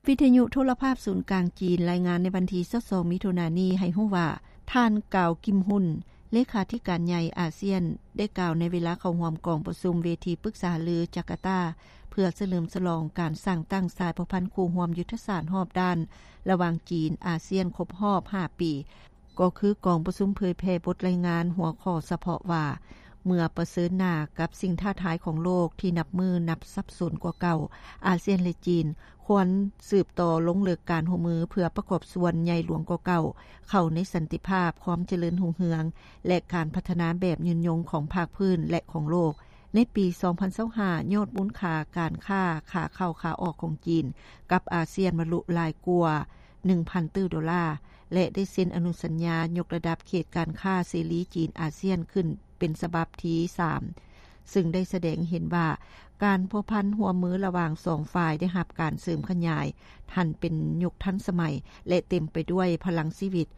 ວິທະຍຸໂທລະພາບສູນກາງຈີນ ລາຍງານໃນວັນທີຊາວສອງ ມິຖຸນານີ້ໃຫ້ຮູ້ວ່າ ທ່ານ ກາວ ກິມຮຸນ ເລຂາທິການໃຫຍ່ອາຊຽນ ໄດ້ກ່າວໃນເວລາເຂົ້າຮ່ວມກອງປະຊຸມເວທີປຶກສາຫາລືຈາກາຕາ ເພື່ອສະເຫຼີມສະຫຼອງການສ້າງຕັ້ງສາຍພົວພັນຄູ່ຮ່ວມຍຸດທະສາດຮອບດ້ານ ລະຫວ່າງຈີນ-ອາຊຽນຄົບຮອບຫ້າປີ ກໍຄືກອງປະຊຸມເຜີຍແຜ່ບົດລາຍງານຫົວຂໍ້ສະເພາະວ່າ ເມື່ອປະເຊີນໜ້າກັບສິ່ງທ້າທາຍຂອງໂລກທີ່ນັບມື້ນັບສັບສົນກວ່າເກົ່າ, ອາຊຽນ ແລະ ຈີນ ຄວນສືບຕໍ່ລົງເລິກການຮ່ວມມືເພື່ອປະກອບສ່ວນໃຫຍ່ຫຼວງກວ່າເກົ່າ ເຂົ້າໃນສັນຕິພາບ, ຄວາມຈະເລີນຮຸ່ງເຮືອງ ແລະ ການພັດທະນາແບບຍືນຍົງຂອງພາກພື້ນ ແລະ ຂອງໂລກ. ໃນປີສອງພັນຊາວຫ້າ ຍອດມູນຄ່າການຄ້າຂາເຂົ້າຂາອອກຂອງຈີນກັບອາຊຽນບັນລຸຫຼາຍກວ່າໜຶ່ງພັນຕື້ໂດລາ ແລະ ໄດ້ເຊັນອະນຸສັນຍາຍົກລະດັບເຂດການຄ້າເສລີຈີນອາຊຽນຂຶ້ນເປັນສະບັບທີສາມ ຊຶ່ງໄດ້ສະແດງໃຫ້ເຫັນວ່າ ການພົວພັນຮ່ວມມືລະຫວ່າງສອງຝ່າຍໄດ້ຮັບການເສີມຂະຫຍາຍ ຫັນເປັນຍຸກທັນສະໄໝ ແລະ ເຕັມໄປດ້ວຍພະລັງຊີວິດ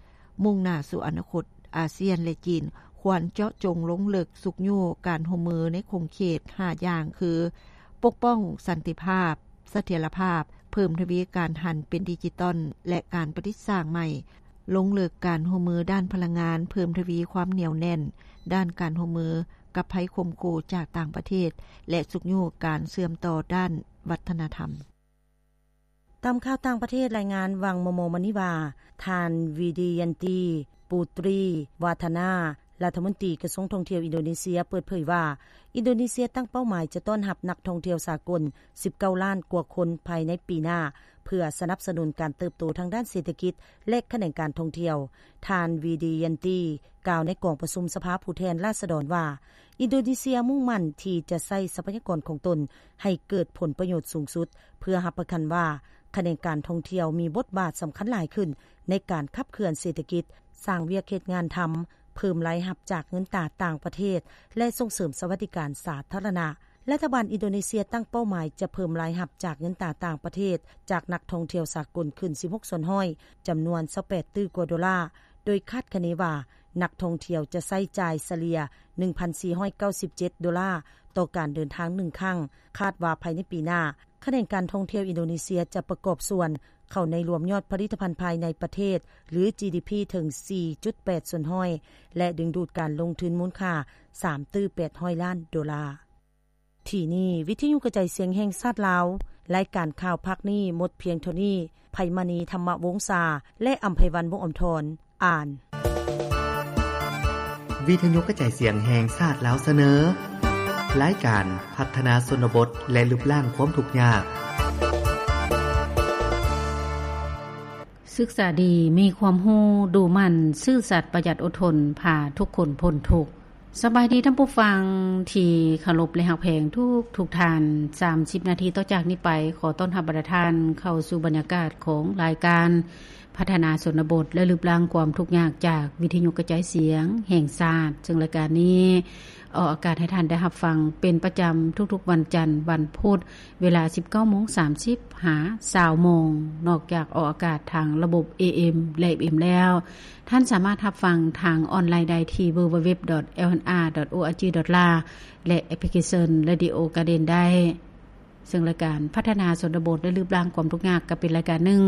ມຸ່ງໜ້າສູ່ອະນາຄົດ. ອາຊຽນ ແລະ ຈີນ ຄວນເຈາະຈົງລົງເລິກຊຸກຍູ້ການຮ່ວມມືໃນຂົງເຂດຫ້າຢ່າງຄື ປົກປ້ອງສັນຕິພາບ, ສະຖຽນລະພາບ, ເພີ່ມທະວີການຫັນເປັນດິຈິຕອນ ແລະ ການປະດິດສ້າງໃໝ່, ລົງເລິກການຮ່ວມມືດ້ານພະລັງງານ, ເພີ່ມທະວີຄວາມໜຽວແໜ້ນດ້ານການຮ່ວມມືກັບໄພຂົ່ມຂູ່ຈາກຕ່າງປະເທດ ແລະ ຊຸກຍູ້ການເຊື່ອມຕໍ່ດ້ານວັດທະນະທຳ. ຕາມຂ່າວຕ່າງປະເທດລາຍງານຫວ່າງມໍ່ໆມານີ້ວ່າ ທ່ານ ວິດີຍັນຕີ ປູຕຣີ ວາທານາ ລັດຖະມົນຕີກະຊວງທ່ອງທ່ຽວອິນໂດເນເຊຍ ເປີດເຜີຍວ່າ ອິນໂດເນເຊຍຕັ້ງເປົ້າໝາຍຈະຕ້ອນຮັບນັກທ່ອງທ່ຽວສາກົນສິບເກົ້າລ້ານກວ່າຄົນພາຍໃນປີໜ້າ ເພື່ອສະໜັບສະໜູນການເຕີບໂຕທາງດ້ານເສດຖະກິດ ແລະ ຂະແໜງການທ່ອງທ່ຽວ. ທ່ານ ວິດີຍັນຕີ ກ່າວໃນກອງປະຊຸມສະພາຜູ້ແທນລາຊະດອນວ່າ ອິນໂດເນເຊຍມຸ່ງໝັ້ນທີ່ຈະໃຊ້ຊັບພະຍາກອນຂອງຕົນໃຫ້ເກີດຜົນປະໂຫຍດສູງສຸດ ເພື່ອຮັບປະກັນວ່າ ຂະແໜງການທ່ອງທ່ຽວມີບົດບາດສຳຄັນຫຼາຍຂຶ້ນໃນການຂັບເຄື່ອນເສດຖະກິດ, ສ້າງວຽກເຮັດງານທຳ, ເພີ່ມລາຍຮັບຈາກເງິນຕາຕ່າງປະເທດ ແລະ ສົ່ງເສີມສະຫວັດດີການສາທາລະນະ. ລັດຖະບານອິນໂດເນເຊຍຕັ້ງເປົ້າໝາຍຈະເພີ່ມລາຍຮັບຈາກເງິນຕາຕ່າງປະເທດຈາກນັກທ່ອງທ່ຽວສາກົນຂຶ້ນສິບຫົກສ່ວນຮ້ອຍ, ຈຳນວນຊາວແປດຕື້ກວ່າໂດລາ, ໂດຍຄາດຄະເນວ່າ ນັກທ່ອງທ່ຽວຈະໃຊ້ຈ່າຍສະເລ່ຍໜຶ່ງພັນສີ່ຮ້ອຍເກົ້າສິບເຈັດໂດລາຕໍ່ການເດີນທາງໜຶ່ງຄັ້ງ. ຄາດວ່າພາຍໃນປີໜ້າ, ຂະແໜງການທ່ອງທ່ຽວອິນໂດເນເຊຍຈະປະກອບສ່ວນເຂົ້າໃນລວມຍອດຜະລິດຕະພັນພາຍໃນປະເທດ ຫຼື ຈີດີພີ ເຖິງສີ່ຈຸດແປດສ່ວນຮ້ອຍ ແລະ ດຶງດູດການລົງທຶນມູນຄ່າສາມຕື້ແປດຮ້ອຍລ້ານໂດລາ. ທີ່ນີ້ ວິທະຍຸກະຈາຍສຽງແຫ່ງຊາດລາວ, ລາຍການຂ່າວພາກນີ້ໝົດພຽງເທົ່ານີ້. ໄພມະນີ ທຳມະວົງສາ ແລະ ອຳໄພວັນ ວົງອຳທອນ ອ່ານ. ວິທະຍຸກະຈາຍສຽງແຫ່ງຊາດລາວສະເໜີ ລາຍການພັດທະນາຊົນນະບົດ ແລະ ລຶບລ້າງຄວາມທຸກຍາກ. ສຶກສາດີ, ມີຄວາມຮູ້, ດຸໝັ່ນ, ຊື່ສັດ, ປະຢັດ, ອົດທົນ, ພາທຸກຄົນພົ້ນທຸກ. ສະບາຍດີທ່ານຜູ້ຟັງທີ່ເຄົາລົບ ແລະ ຮັກແພງທຸກໆທ່ານ. ສາມສິບນາທີຕໍ່ຈາກນີ້ໄປ, ຂໍຕ້ອນຮັບບັນດາທ່ານເຂົ້າສູ່ບັນຍາກາດຂອງລາຍການ ພັດທະນາຊົນນະບົດ ແລະ ລຶບລ້າງຄວາມທຸກຍາກ ຈາກວິທະຍຸກະຈາຍສຽງແຫ່ງຊາດ, ເຊິ່ງລາຍການນີ້ອອກອາກາດໃຫ້ທ່ານໄດ້ຮັບຟັງເປັນປະຈຳທຸກໆວັນຈັນ, ວັນພຸດ, ເວລາສິບເກົ້າໂມງສາມສິບຫາຊາວໂມງ. ນອກຈາກອອກອາກາດທາງລະບົບ ເອເອັມ ແລະ ເອັຟເອັມ ແລ້ວ, ທ່ານສາມາດຮັບຟັງທາງອອນລາຍໄດ້ທີ່ www.lnr.org.la ແລະ ແອັບພລິເຄຊັນ Radio Garden ໄດ້. ເຊິ່ງລາຍການພັດທະນາຊົນນະບົດ ແລະ ລຶບລ້າງຄວາມທຸກຍາກ ກໍເປັນລາຍການໜຶ່ງ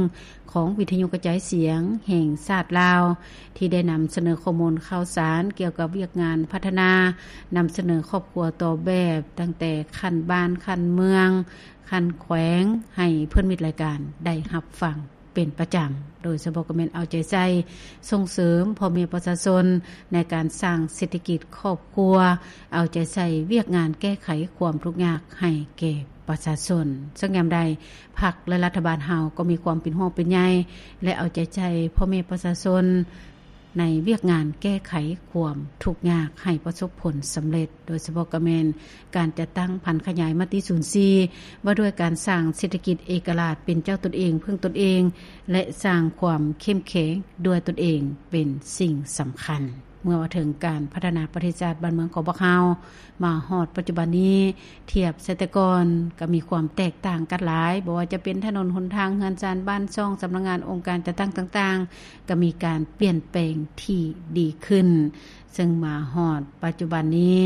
ຂອງວິທະຍຸກະຈາຍສຽງແຫ່ງຊາດລາວ ທີ່ໄດ້ນຳສະເໜີຂໍ້ມູນຂ່າວສານກ່ຽວກັບວຽກງານພັດທະນາ, ນຳສະເໜີຄອບຄົວຕໍ່ແບບ ຕັ້ງແຕ່ຂັ້ນບ້ານ, ຂັ້ນເມືອງ, ຂັ້ນແຂວງ ໃຫ້ເພື່ອນມິດລາຍການໄດ້ຮັບຟັງເປັນປະຈຳ, ໂດຍສະເພາະກໍແມ່ນເອົາໃຈໃສ່ສົ່ງເສີມພໍ່ແມ່ປະຊາຊົນໃນການສ້າງເສດຖະກິດຄອບຄົວ, ເອົາໃຈໃສ່ວຽກງານແກ້ໄຂຄວາມທຸກຍາກໃຫ້ແກ່ ປະຊາຊົນ. ເຊິ່ງຍາມໃດ ພັກ ແລະ ລັດຖະບານເຮົາກໍມີຄວາມເປັນຫ່ວງເປັນໃຍ ແລະ ເອົາໃຈໃສ່ພໍ່ແມ່ປະຊາຊົນ ໃນວຽກງານແກ້ໄຂຄວາມທຸກຍາກໃຫ້ປະສົບຜົນສຳເລັດ, ໂດຍສະເພາະກໍແມ່ນການຈັດຕັ້ງຜັນຂະຫຍາຍມະຕິສູນສີ່ ວ່າດ້ວຍການສ້າງເສດຖະກິດເອກະລາດເປັນເຈົ້າຕົນເອງ, ເພິ່ງຕົນເອງ ແລະ ສ້າງຄວາມເຂັ້ມແຂງດ້ວຍຕົນເອງເປັນສິ່ງສຳຄັນ. ເມື່ອວ່າເຖິງການພັດທະນາປະເທດຊາດບ້ານເມືອງຂອງພວກເຮົາ ມາຮອດປັດຈຸບັນນີ້ ທຽບໃສ່ແຕ່ກ່ອນກໍມີຄວາມແຕກຕ່າງກັນຫຼາຍ, ບໍ່ວ່າຈະເປັນຖະໜົນຫົນທາງ, ເຮືອນຊານບ້ານຊ່ອງ, ສຳນັກງານ, ອົງການຈັດຕັ້ງຕ່າງໆ ກໍມີການປ່ຽນແປງທີ່ດີຂຶ້ນ, ເຊິ່ງມາຮອດປັດຈຸບັນນີ້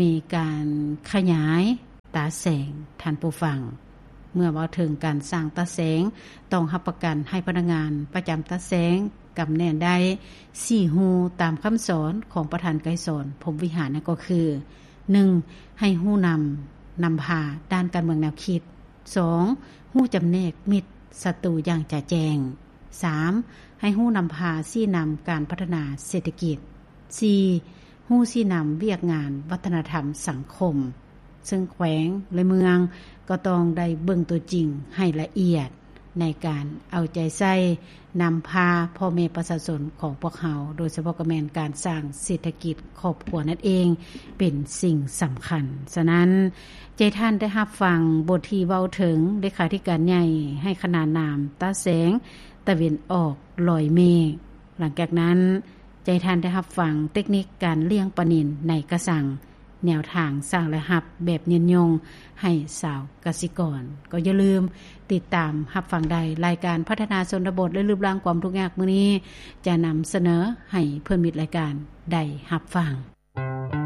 ມີການຂະຫຍາຍຕາແສງ, ທ່ານຜູ້ຟັງ. ເມື່ອເວົ້າເຖິງການສ້າງຕາແສງ, ຕ້ອງຮັບປະກັນໃຫ້ພະນັກງານປະຈຳຕາແສງ ກຳແໜ້ນໄດ້ສີ່ຮູຕາມຄຳສອນຂອງປະທານໄກສອນ ພົມວິຫານ ນັ້ນກໍຄື ໜຶ່ງ ໃຫ້ຮູ້ນຳ, ນຳພາດ້ານການເມືອງແນວຄິດ, ສອງ ຮູ້ຈຳແນກມິດສັດຕູຢ່າງຈະແຈ້ງ, ສາມ ໃຫ້ຮູ້ນຳພາຊີ້ນຳການພັດທະນາເສດຖະກິດ, ສີ່ ຮູ້ຊີ້ນຳວຽກງານວັດທະນະທຳສັງຄົມ, ເຊິ່ງແຂວງ ແລະ ເມືອງກໍຕ້ອງໄດ້ເບິ່ງຕົວຈິງໃຫ້ລະອຽດ ໃນການເອົາໃຈໃສ່ນຳພາພໍ່ແມ່ປະຊາຊົນຂອງພວກເຮົາ, ໂດຍສະເພາະກໍແມ່ນການສ້າງເສດຖະກິດຄອບຄົວນັ້ນເອງເປັນສິ່ງສຳຄັນ. ສະນັ້ນ, ໃຈທ່ານໄດ້ຮັບຟັງບົດທີ່ເວົ້າເຖິງເລຂາທິການໃຫຍ່ໃຫ້ຂະໜານນາມຕາແສງຕາເວັນອອກລອຍເມກ. ຫຼັງຈາກນັ້ນ, ໃຈທ່ານໄດ້ຮັບຟັງເຕັກນິກການລ້ຽງປານິນໃນກະສັງ, ແນວທາງສ້າງລາຍຮັບແບບຍືນຍົງໃຫ້ຊາວກະສິກອນ. ກໍຢ່າລືມຕິດຕາມຮັບຟັງໄດ້, ລາຍການພັດທະນາຊົນນະບົດ ແລະ ລຶບລ້າງຄວາມທຸກຍາກມື້ນີ້ ຈະນຳສະເໜີໃຫ້ເພື່ອນມິດລາຍການໄດ້ຮັບຟັງ.